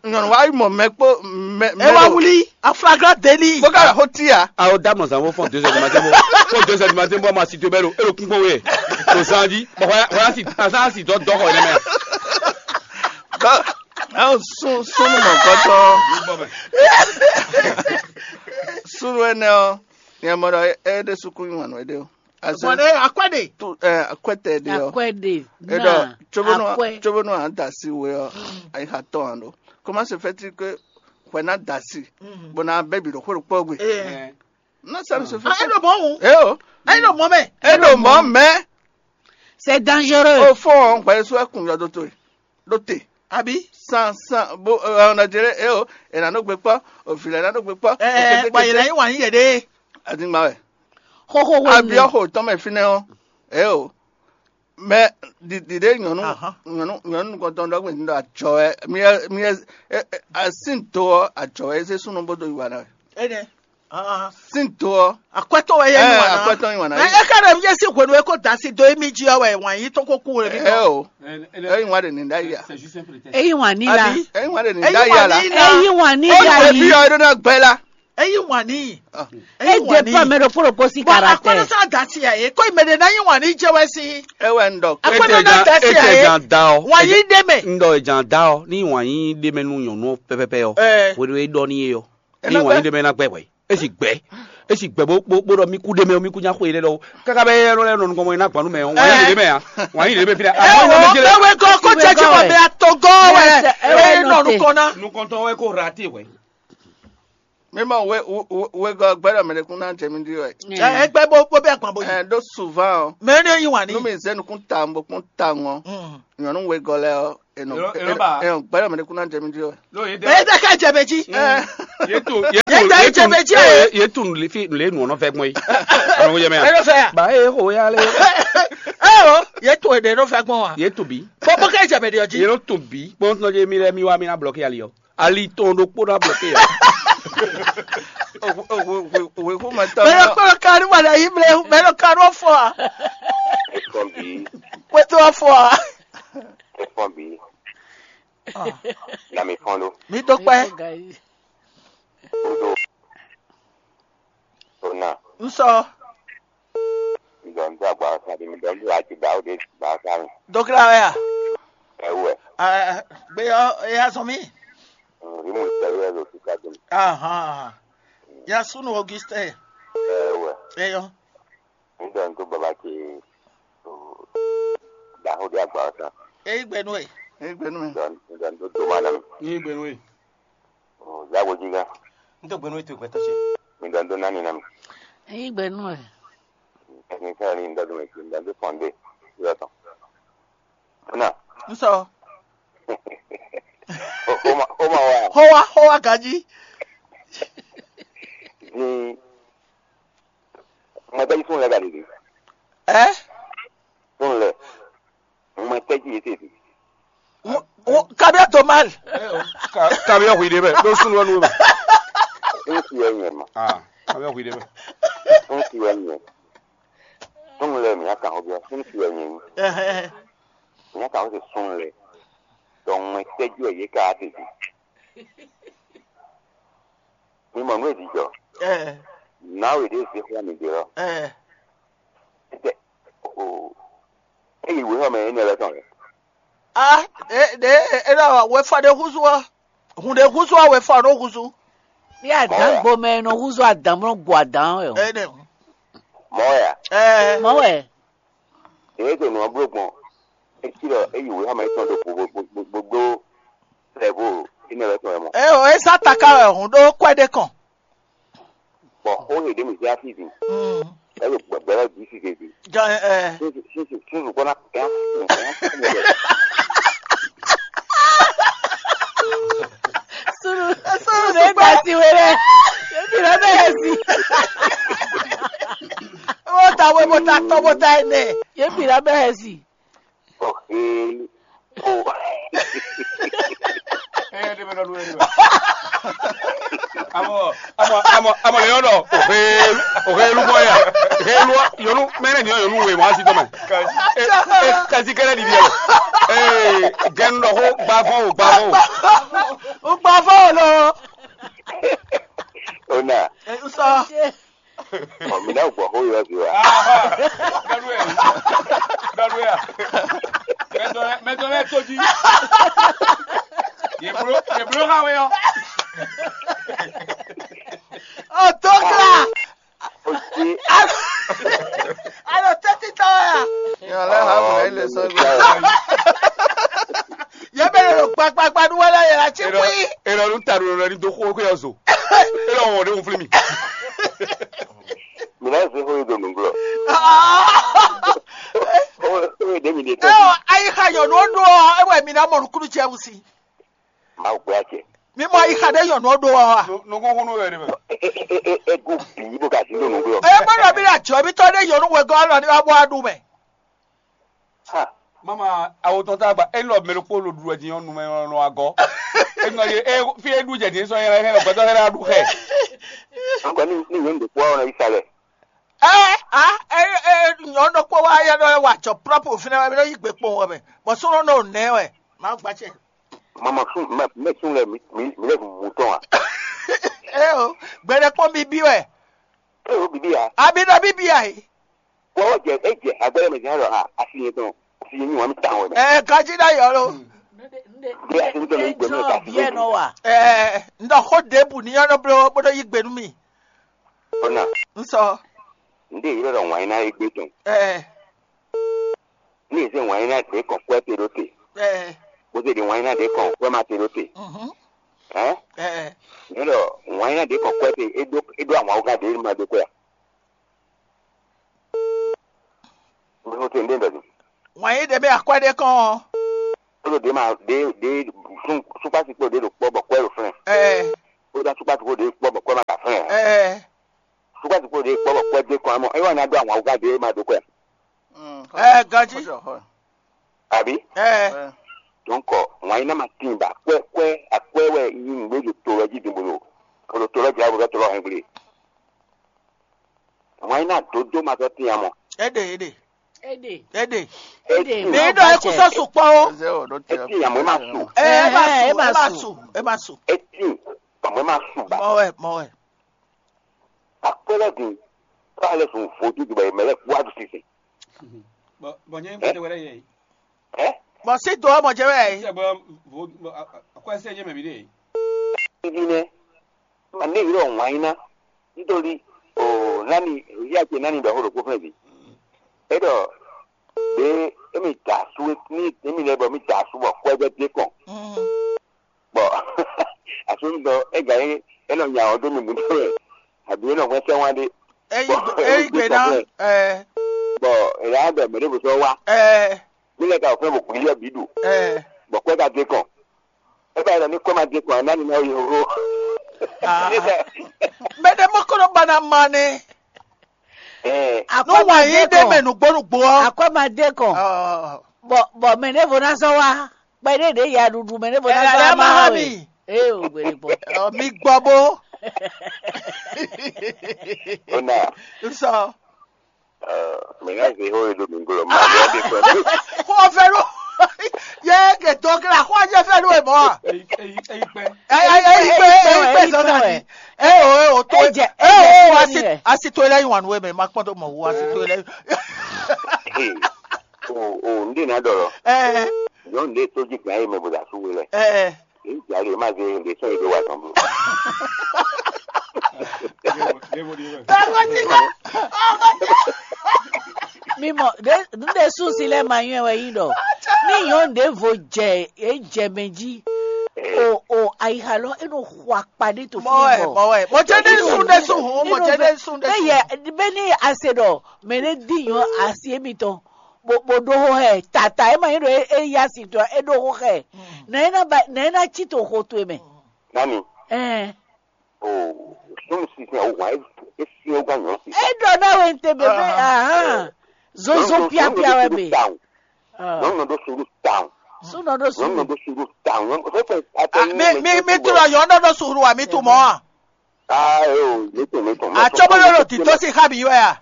nyɔnu wa yi mɔ mɛ kpó mɛ mɛ E wa ɖo- wuli a flagrant délit. Bó ka xo ti ya. Awo da mɔ zan bó fɔn deux heures du matin bó fɔn deux heures du matin bó ma si to bɛ lo e lo kún kpɔn wɛ lo zan di bɔn hɔn hɔn si asan si dɔ dɔ xɔ yɛ mɛ. Dɔ ɛn sun sunu mɔ gɔtɔ. Sunu ɛnɛ ɔ nyɛ mɔ ɖɔ e ɖe sukun yi wàn wɛ ɖe o. Azɔn Bɔn ɖe akwɛ ɖe. Tu ɛ akwɛtɛ ɖe ɔ. Akwɛ ɖe. E ɖɔ Na tsobonu akwɛ. Tsobonu an da si we ɔ ayi xa tɔn an ɖo. Comment se fait-il que hwɛ na da si bɔ na bɛ bi ɖo xwé ɖokpɔ gbe? Ee. Non, ça ne se fait Ah, pas. E ɖo mɔ wu. E o. E ɖo mɔ mɛ. E ɖo mɔ mɛ. C'est dangereux. O fɔ hwɛ so ekun yɔ do to e. Do te. Abi. San san bo ɛ ɔn dajele e o e na nɔ gbe kpɔ o vi lɛ na nɔ gbe kpɔ. Ɛɛ bɔn yɛlɛ yi wàn yí yɛ ɖe. Adigba wɛ. Xoxo wɛ. Abiɔ xo tɔn mɛ finɛ o e o. Mɛ ɖiɖi ɖe nyɔnu Ahán. Nyɔnu nyɔnu nukɔntɔn ɖɔ gbɛn ɖɔ adzɔ wɛ mi ɛ mi ɛ ɛ ɛ sin to ɔ adzɔ wɛ eze sunu bó do yi wa na wɛ. Enɛ. Sin to ɔ. Akwɛtɔ wɛ yɛ yi wa na. Akwɛtɔ yi wa na. Ɛ ɛ ká ɖe mi yɛ si hwenu e ko da si do emi jí ɔ wɛ wàn yí tɔn ko kú wɛ mi Ɛ tɔn. O. Ɛ yi wa de ni da yi a. Eyi wàn ní la. Abi. Ɛ yi wa de ni da yi a la. Eyi wàn ní la. Ebi yìí. Ɔ e ɖo na gbɛ la. Eyi wàn ní. E dépend mɛ ɖokpó ɖokpó sín Bɔn caractère. Akɔnɔsá dasi a ye ko imɛ de na yi wàn ní jẹ wɛ si. Ewɛ n dɔ. Akɔnɔ Ete na jan dasi ete a ye. Jan da ɔ. Wàn yí dé mɛ. N dɔ jan da ɔ ní wàn yí dé mɛ nú nyɔnu pɛpɛpɛ ɔ. Ɛ. Wòle e dɔ ní ye ɔ. Ní wàn yí dé mɛ ná gbɛ wɛ. E si gbɛ. E si gbɛ bó bó bó ɖɔ mí kú dé mɛ o mí kú nya xó ye lɛ lɔ. Kaka bɛ yɛ lɔ lɛ nɔ nukɔn mɔ ye ná gban nú mɛ o. Wàn yí dé mɛ a. Wàn yí dé mɛ fi dɛ. Ɛ wò bɛ wɛ gɔ kó jẹ jẹ wà mɛ atɔgɔ wɛ. Ɛ nɔ nukɔn ná. Nukɔntɔn wɛ kó rate wɛ. Mi mɔ we we we gɔ gbɛdɔ mɛ ɖe kún ná jɛ mi ɖi wɛ. Ɛ gbɛ bó bó bɛ gbɔn bó yi. Ɛ ɖó souvent o. Mɛ ne yi wàn ní. Nu mi zɛ nukún ta mo kún ta ŋɔ. Nyɔnu we gɔ lɛ ɔ. Enɔ Elo- elo ba. Enɔ gbɛdɔ mɛ ɖe kún ná jɛ mi ɖi wɛ. Lo ye Ɛ dɛ. Tɛ ká jɛ bɛ jí. Ɛ Ye tu ye Ye tu ta ye ye tu jɛ bɛ jɛ. Ye ye tu le fi le nu ɔnɔ fɛ gbɔn yi. Ɔnɔ ko jɛ mɛ Ɛ ya. Ló fẹ́ yà. Ba e ko ya le. Ɛ o, ye to èdè ló fẹ́ gbɔn wa. Ye tu bi. Bó bó ká jẹ bɛ di Ye ọjí. Lo tu bi. Kpɔn tɔn je mi lɛ mi wa mi na bloquer ali yɔ. Ali tɔn ɖokpó ná bloquer yɔ. Òwe kó mɛ tɔ Mɛ ló kpɔ́n ka ní wàdà yìí mlẹ̀ mɛ ló ka ní wọ́n fọ́ a. Ekɔn bi Pé tó wọ́n fọ́ a. Ekɔn bi na mi fɔn ɖo Mi tó pẹ́. Kudo ona N sɔ. Midɔn do agba sa de midɔn do ati da o de ba sa mi. Dókítà wɛ a. Ɛwɛ. Gbé yɔ eya sɔn mí. Ri mu tɛ yɛ lo sika dum. Ahan. Ya sunu Augustin. Ɛwɛ. Eyɔ. Midɔn do baba ke da o de agba sa. Eyi gbɛnu e. Eyi gbɛnu e. Midɔn midɔn do do ma na mi. Eyi gbɛnu e. Yawo jiga. N tó gbɛnu e to gbɛtɔ ce. Midɔn do nani na mi. Eyi gbɛnu e. Technicien ni ndɔ do mi midɔn do fɔnde. Yɔ tɔn. Na. N sɔ. Xoma xoma wa. Xɔwa xɔwa gaji. Ni mɔtɛji fún lɛ gaɖiɖi. Ɛ. Fún lɛ. Mɔtɛji yìí tètè. Kabiya to mal. Kabiya hui de bɛ. Ló sunu wɛ nu bɛ. N ti yɛ nyɛ ma. Ah, kabiya hui de bɛ. N ti yɛ nyɛ. Fún lɛ mi yà kàn ó bí wa. N ti yɛ nyɛ. Ɛhɛn. Ìyẹn kà wọ́n ti sún lɛ dɔnmɛ tɛjú ɛ yě ká tètè. Mi mɔ nú èdìjɔ. Ɛ. Nǎ wè ɖé zé xlá mi dè lɔ. Ɛ. Títɛ o. Eyi wé xɔ mɛ énɛ́ lɛ́ tɔn lɛ. A ɖe ɖe e ɖɔ wefɔ ɖe húzú ɔ́, hun ɖe húzú ɔ́, wefɔ nɔ húzú. Ní adǎn gbomɛ e nɔ húzú adǎn bó nɔ gu adǎn wɛ o. Ene. Mɔ̌ wɛ a? Ɛɛ. Mɔ̌ wɛ. Ɖě e ɖo nǔ ɔ́ bló gbɔn, é cí ɖɔ é yi wěxɔmɛ tɔn ɖo gbogbogbò sɛvo énɛ́ lɛ́ɛ tɔn wɛ mɔ. Eo, é zán taká wɛ hǔn ɖó kwɛ́ ɖé kɔn. Bɔ xó he ɖě mǐ zé afí din, Mm. É ɖo gbɛgbɛ́ lɛ́ɛ bǐ size din. Jɔ ɛ. Súnzù súnzù súnzù kpɔ́ ná kɛ́n. Sunu sunu ɖe da si we lɛ. Ebi lɛ bɛ yɛ si. Mo ta we mo ta tɔ mo ta ene. Ebi lɛ bɛ yɛ si. Ɔhɛn. O. Ɛ ɖe bɛ nɔ lu ɛ ɖe bɛ. Amɔ amɔ amɔ amɔ le yɔ dɔ. Ohe ohe lu bɔ ya. Ohe lu yɔnu mɛ ne nyɔ yɔnu we wa si tɔ mɛ. E e kasi kɛlɛ ɖiɖi yɛ. Ee gɛnu dɔ ko gbavɔ o gbavɔ o. O gbavɔ o lɔ. Ona. Sɔ. Ɔ mi ná gbɔ xó yɔ zi wa. Dɔlu ya. Dɔlu ya. Mɛtɔ lɛ mɛtɔ lɛ tó jí. Yeblo yeblo ha wɛ yɔ. O tó kla. O ti. Alo tẹ́tí tọ́ ya. Yàn lẹ́ ha wò lẹ́yìn lè sọ gbé. Yẹ bẹ lọ gbagbagbadu wala yẹ la tsi kpui. Ela nu ta ɖo lɛ ni do xó xó yɔ zo. Ela wɔn ɖe wofle mi. Mi na se xó yi do nugblɔ. Xó yi ɖe mi ɖe tɔ. Ewɔ ayi xa yɔ nu ɖo ewɔ mi na mɔ nukunu cɛ wusi. Mawu gbé acɛ. Mi mɔ ayi xa ɖe yɔ nu ɖo wa. Nukun xó nu yɛ de mɛ. Egu bi bo ka si do nugblɔ. Eye gbɔdɔ mi na jɔ mi tɔ ɖe yɔ nu wɛ gɔ alɔ ni wa bɔ adu mɛ. Ha. Mama awo tɔn ta gba e lɔ mɛ ɖokpó lo ɖu wɛ din ɔ́ numɛ nɔ agɔ. E nɔ ye e fi e ɖu jɛ din sɔ yɛ hɛn gbɛtɔ hɛn ɖu xɛ. Agbɛ ni ni nyɔnu ɖokpó wa wɔ na yi sa lɛ. Ɛ a ɛ ɛ nyɔnu ɖokpó wa yɛ ɖɔ wɛ wà jɔ prɔpu fínɛ wɛ mi ɖɔ yi gbe kpɔn wɛ mɛ bɔ sɔnɔ nɔ nɛ wɛ ma gba cɛ. Mama sun mɛ mɛ sun lɛ mi mi mi lɛ mu tɔn wa. Ɛ o gbɛɖɛ kpɔn bibi wɛ. E o bibi ya. Abi ɖɔ bibi ya yi. Wọ́n jẹ ẹ jẹ agbẹ́rẹ́ mẹ̀sìn á lọ ha asi yẹn tán asi yẹn ní wọ́n mi ta wọn mẹ́. Ẹ gaji da yọ lo. Bí a ti ń tẹ̀lé ìgbẹ́ mi ká sí Biɛ nɔ wa. Ẹ ndɔ xó debu ni yọ nɔ blo bó dɔ yi gbenu mi. Ọ̀nà N sɔ. Ndé yìí lọ́dọ̀ wọ́n iná egbé tán. Ẹ Ní ìsín wọ́n iná dé kàn kú ẹ́ tè ló tè. Ẹ Bó ṣe di wọ́n iná dé kàn kú ẹ́ má tè ló tè. Mhm. Ẹ́ Ẹ Ní lọ wọ́n iná dé kàn kú ẹ́ tè é dó é dó àwọn awúgá dé má dó kú ẹ́. Mo tɛ ndé ndɔ ni. Wọ́n yí ɖe mɛ akwɛ́ ɖé kɔn. Ó ló dé ma dé dé sún súpásí kpó dé ɖo kpɔ́ bɔ kwɛ́ ɖo flɛ́n. Ɛ Ó dá súpásí kpó dé kpɔ́ bɔ kwɛ́ ma ka flɛ́n. Ɛ Súpásí kpó dé kpɔ́ bɔ kwɛ́ dé kɔn amɔ é wà ní adó àwọn awúgá dé ma dó kwɛ́. Ɛ ganjí. Àbí? Ɛ Donc wọ́n yí ná ma tín ba kwɛ́ kwɛ́ akwɛ́ wɛ yí nǔgbé ɖo to lɔ jí din bolo. Bolo to lɔ jí abo dɔ to lɔ hɛn gblé. Wọ́n yí ná dodó ma tɔ tín amɔ. Ɛ ɖe ɛ ɖe. Ede. Ɛ ɖe. Ede. Ní ɖɔ é kú sɔ sukpɔ o. Eze o ɖo te. Eti yamɔ ma su. Ɛ ɛ ma su ɛ ma su ɛ ma su. Eti yamɔ ma su ba. Mɔ wɛ mɔ wɛ. Akpɛlɛ di. K'ale sun vodu di ba yemɛ lɛ kua du sisi. Bɔn bɔn nyɛ ŋkpɛtɛ wɛrɛ yɛ yi. Ɛ. Bɔn si do ɔmɔ jɛ wɛ yi. Sɛ bɔ vo bɔ akɔɛsɛ nyɛ mɛ bi de yi. Ibi nɛ. Ma ne yɔrɔ wanyina. Nítorí o nani ìyá ce nani bɛ xó ɖokpó fɛn bi. É ɖɔ ɖě émí da asú ní émí lɛ́ɛ bɔ mí da asú bɔ kwɛ́gbɛ́ dé kɔn. Bɔ asúnudɔ é gǎ é é nɔ nya ɔ́ dó mi mǔtɔn wɛ àbí é nɔ hwɛ́n sɛ́n wá ɖé. Eyi eyi gbe ná ɛ Bɔ èyí á bɛ mɛ ɖěvo sɔ́ wá ɛ mí lɛ́ ka wɔ fɛ́n bɔ gbǐ yɔ bǐ ɖu ɛ. Bɔ kwɛ́ ka dé kɔn. É bá yɛ ní kɔ́ ma dé kɔn ná ní ná yɔ hó. Mɛ ɖé mɔ kɔnɔ ba na ma nɛ. Ɛ Nú wǎn yí ɖé mɛ nǔgbó nǔgbó ɔ́. Akwɛ́ ma dé kɔn. Ɔ, Bɔ bɔ mɛ ɖěvo ná sɔ́ wá. Kpɛɖé ɖě ya ɖuɖu mɛ ɖěvo ná Ɛ sɔ́ lɛ́ wá ma má há wá mi. Wɛ. Ee o gbèdè bɔ. Ɔ, mi gbɔ bó. Ó nà. N sɔ. Mǐ ná zě xó e ɖo mǐ gblɔ mɛ ɖé ɖé kpɛ́. Xó ɔ́ fɛ́ ɖó. Yé ke dó kla xó ɔ́ jẹ́ fɛ́ ɖó e mɔ̌ a? Eyi eyi eyi kpɛ. Ɛ ɛ eyi kpɛ eyi kpɛ zɔn ta di. Ɛ o ɛ o tó Ejɛ- ɛ ejɛ o fún asi ẹni rẹ̀. Asi tó ilẹ̀ yìí wà nù wẹ̀ mẹ́ ma kpọ́n tó mọ̀ wò asi tó ilẹ̀ yìí. O o ndé nà dọ̀rọ̀. Ɛ Nyɔ̌nu ɖé tó jí gǎn e mɛ bó ɖo asú we lɛ. Ɛ, Èyí jǎ lè má zé lè sɔ́ yě ɖó wa tɔn bló. Mi mɔ ɖe nu ɖe sunsi lɛ ma nyɔɛ wɛ yi ɖɔ ní nyɔ̌nu ɖěvo jɛ é jɛ mɛ jí o o ayixa lɔ é nɔ xɔ akpa ɖé to mɔ wɛ fún mɔ wɛ mɔ jɛ ɖe sun ɖe sun hɔn mɔ jɛ ɖe sun ɖe sun. Eye bɛ ní ase ɖɔ mɛ ɖé di nyɔ asi émitɔn bó bó ɖó xó xɛ tata é ma nyí ɖo é yá si tɔn é ɖó xó xɛ nɛ é ná ba nɛ é ná cí to xo towe mɛ. Nani? Ɛn. O sunu sisi o wa e si o gba nyɔ si. É ɖɔ ná wɛ ń tɛ bɛ bɛ ahan zozo piapia wɛ mɛ. Nyɔnu ɖo sunu town. Sunɔ ɖo Nyɔnu sunu. Ɖo sunu town. Nyɔnu fɛn fɛn atɛ. Mi mi mi tu lɔ yɔ nɔ ɖo sunu wa mi tu mɔ a. Aa ee o mi tun mi tun. Atsɔbɔlɔ ɖo tito si xa mi yɔ ya.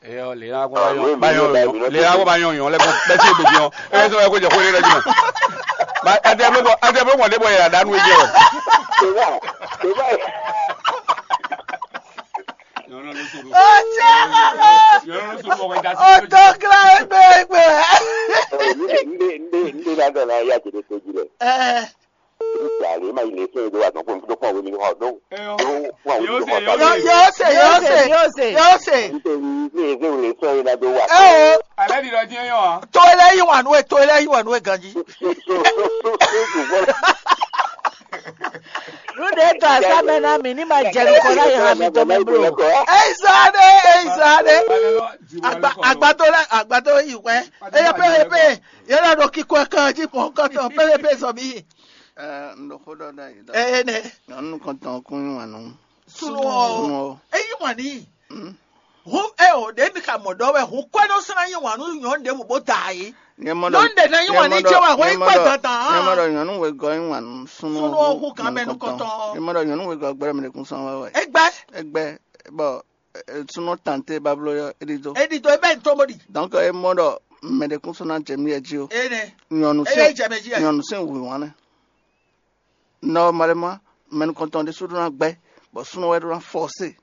Eyɔ le la ko ba yɔn ba yɔn yɔn le la ko ba yɔn yɔn lɛ ko bɛ ti gbogbo yɔn ɛ sɔ ko jɛ ko le la jumɛn ba ɛ tɛ bɛ bɔ ɛ tɛ bɛ bɔ de bɔ yɛrɛ da nu ejɛ o. Teba teba. Ọjọ́ kílá ẹgbẹ́ ẹgbẹ́. Ndé ndé ndé ndé ládàá náà yá jẹ̀dẹ̀ tó jí lẹ̀. Ẹ Nígbà lè má ilé fún ìdó àtọ̀ fún ìdó fún àwọn ènìyàn ọ̀dọ́. Fún àwọn ènìyàn ọ̀dọ́. Yóò ṣe yóò ṣe yóò ṣe yóò ṣe. Nítorí ní èzé òun lè sọ ìlà tó wà. Ẹ o. Alẹ́ ni lọ dín yàn. Tó ilé yìí wà nú ẹ tó ilé yìí wà nú ẹ ganji. Nuɖe tɔ asamɛ na mi ní ma jɛ nukɔ na yi hã mi tɔn mɛ blo. Eyi sa ɖe eyi sa ɖe. Agbato lɛ agbato yi wɛ. Eye pé eye pé yẹn lɛ ɖo kíkɔ kan jí mɔ kɔtɔn pé eye pé zɔ mi. Ɛɛ n ɖo xó ɖɔ ɖe ayi ɖɔ. Eye nɛ. Nyɔnu kɔntɔn kún yín wà nù. Sunu ɔ eyi wà ní. Hu eo ɖe mi ka mɔ ɖɔ wɛ hu kwɛ ɖo sina nyi wǎn nú nyɔ̌nu ɖěbǔ bó da ayé. Nyɔ̌nu ɖe ná nyi wǎn ní jɛ wǎn hwɛ yi kpɛ dandan. Nyɔ̌nu ɖɔ nyɔ̌nu wegɔ́ nyi wǎn nú súnú. Súnú ɔ́ hu kan mɛ nukɔntɔn. Nyɔ̌nu ɖɔ nyɔ̌nu wegɔ́ gbɛ́ mɛ ɖekún sɔn wɛ wɛ. Égbɛ́. Égbɛ́ bɔ súnú tante bablo ɔ́ é ɖidó. É ɖidó é bɛ́ nyi tóbó ɖi. Donc é mɔ ɖɔ mɛ ɖekún sɔn ná jɛ mí yɛ jí ó. Énɛ́. Nyɔ̌nu sín nyɔ̌nu sín wǐwán nɛ́. Nɔmalɛma mɛ nukɔntɔn ɖésú ɖó ná gbɛ́, bɔ súnnu wɛ ɖó ná fɔ́sé,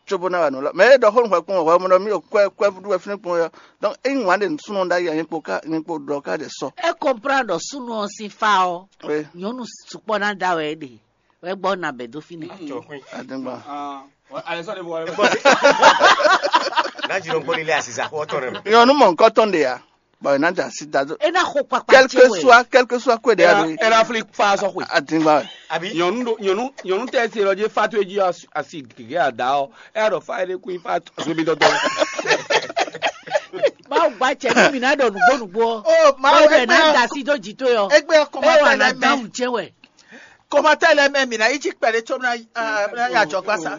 cóbó ná wa nǔ lɔ. Mɛ e ɖɔ xó nú hwɛ kpɔ́n hwɛ mɔ ɖɔ mí ɖo kwɛ kwɛ ɖu wɛ fínɛ́ kpɔ́n ɔ́, donc ényí wǎn ɖe súnnu ɖ'ayǐ ǎ nyɛ kpo ká nyɛ kpo ɖɔ ká ɖe sɔ. É comprendre ɖɔ súnnu ɔ́ sín fá ɔ́, Oui, nyɔ̌nu sukpɔ́ ná da wɛ é ɖe, wɛ gbɔ ná bɛ dó fínɛ́. Adéŋgba. Nájínɔ gbóni lé asisa xó tɔn rẹ mɛ. Nyɔ̌nu mɔ̌hunkɔtɔn ɖe ǎ. Bɔ è nǎ da asi da dó. É ná xo kpakpa ce wɛ. Quel que soit quel que soit kwe ɖe ya ɖo. Ɛ na fli fa sɔ xwe. Adingba wɛ. Àbí. Nyɔnu ɖo nyɔnu nyɔnu tɛ se lɔ dzi fa to edzi asi gege ada ɔ. Ɛ ɖɔ fa ɖe kun fa so mi dɔdɔ. Báwo gba cɛ ní mi ná ɖɔ nùgbó nùgbó ɔ. O ma Báwo wɛ ɛ ná gbɛ da asi dó jì tó yɔ. Egbe Ɛ wà kɔmatɛ ná lɛ mɛ. Dáhùn jẹ wɛ. Kɔmatɛ lɛ mɛ mi na yi dzi kpɛ ɖe tso mi na ya jɔ gbasa.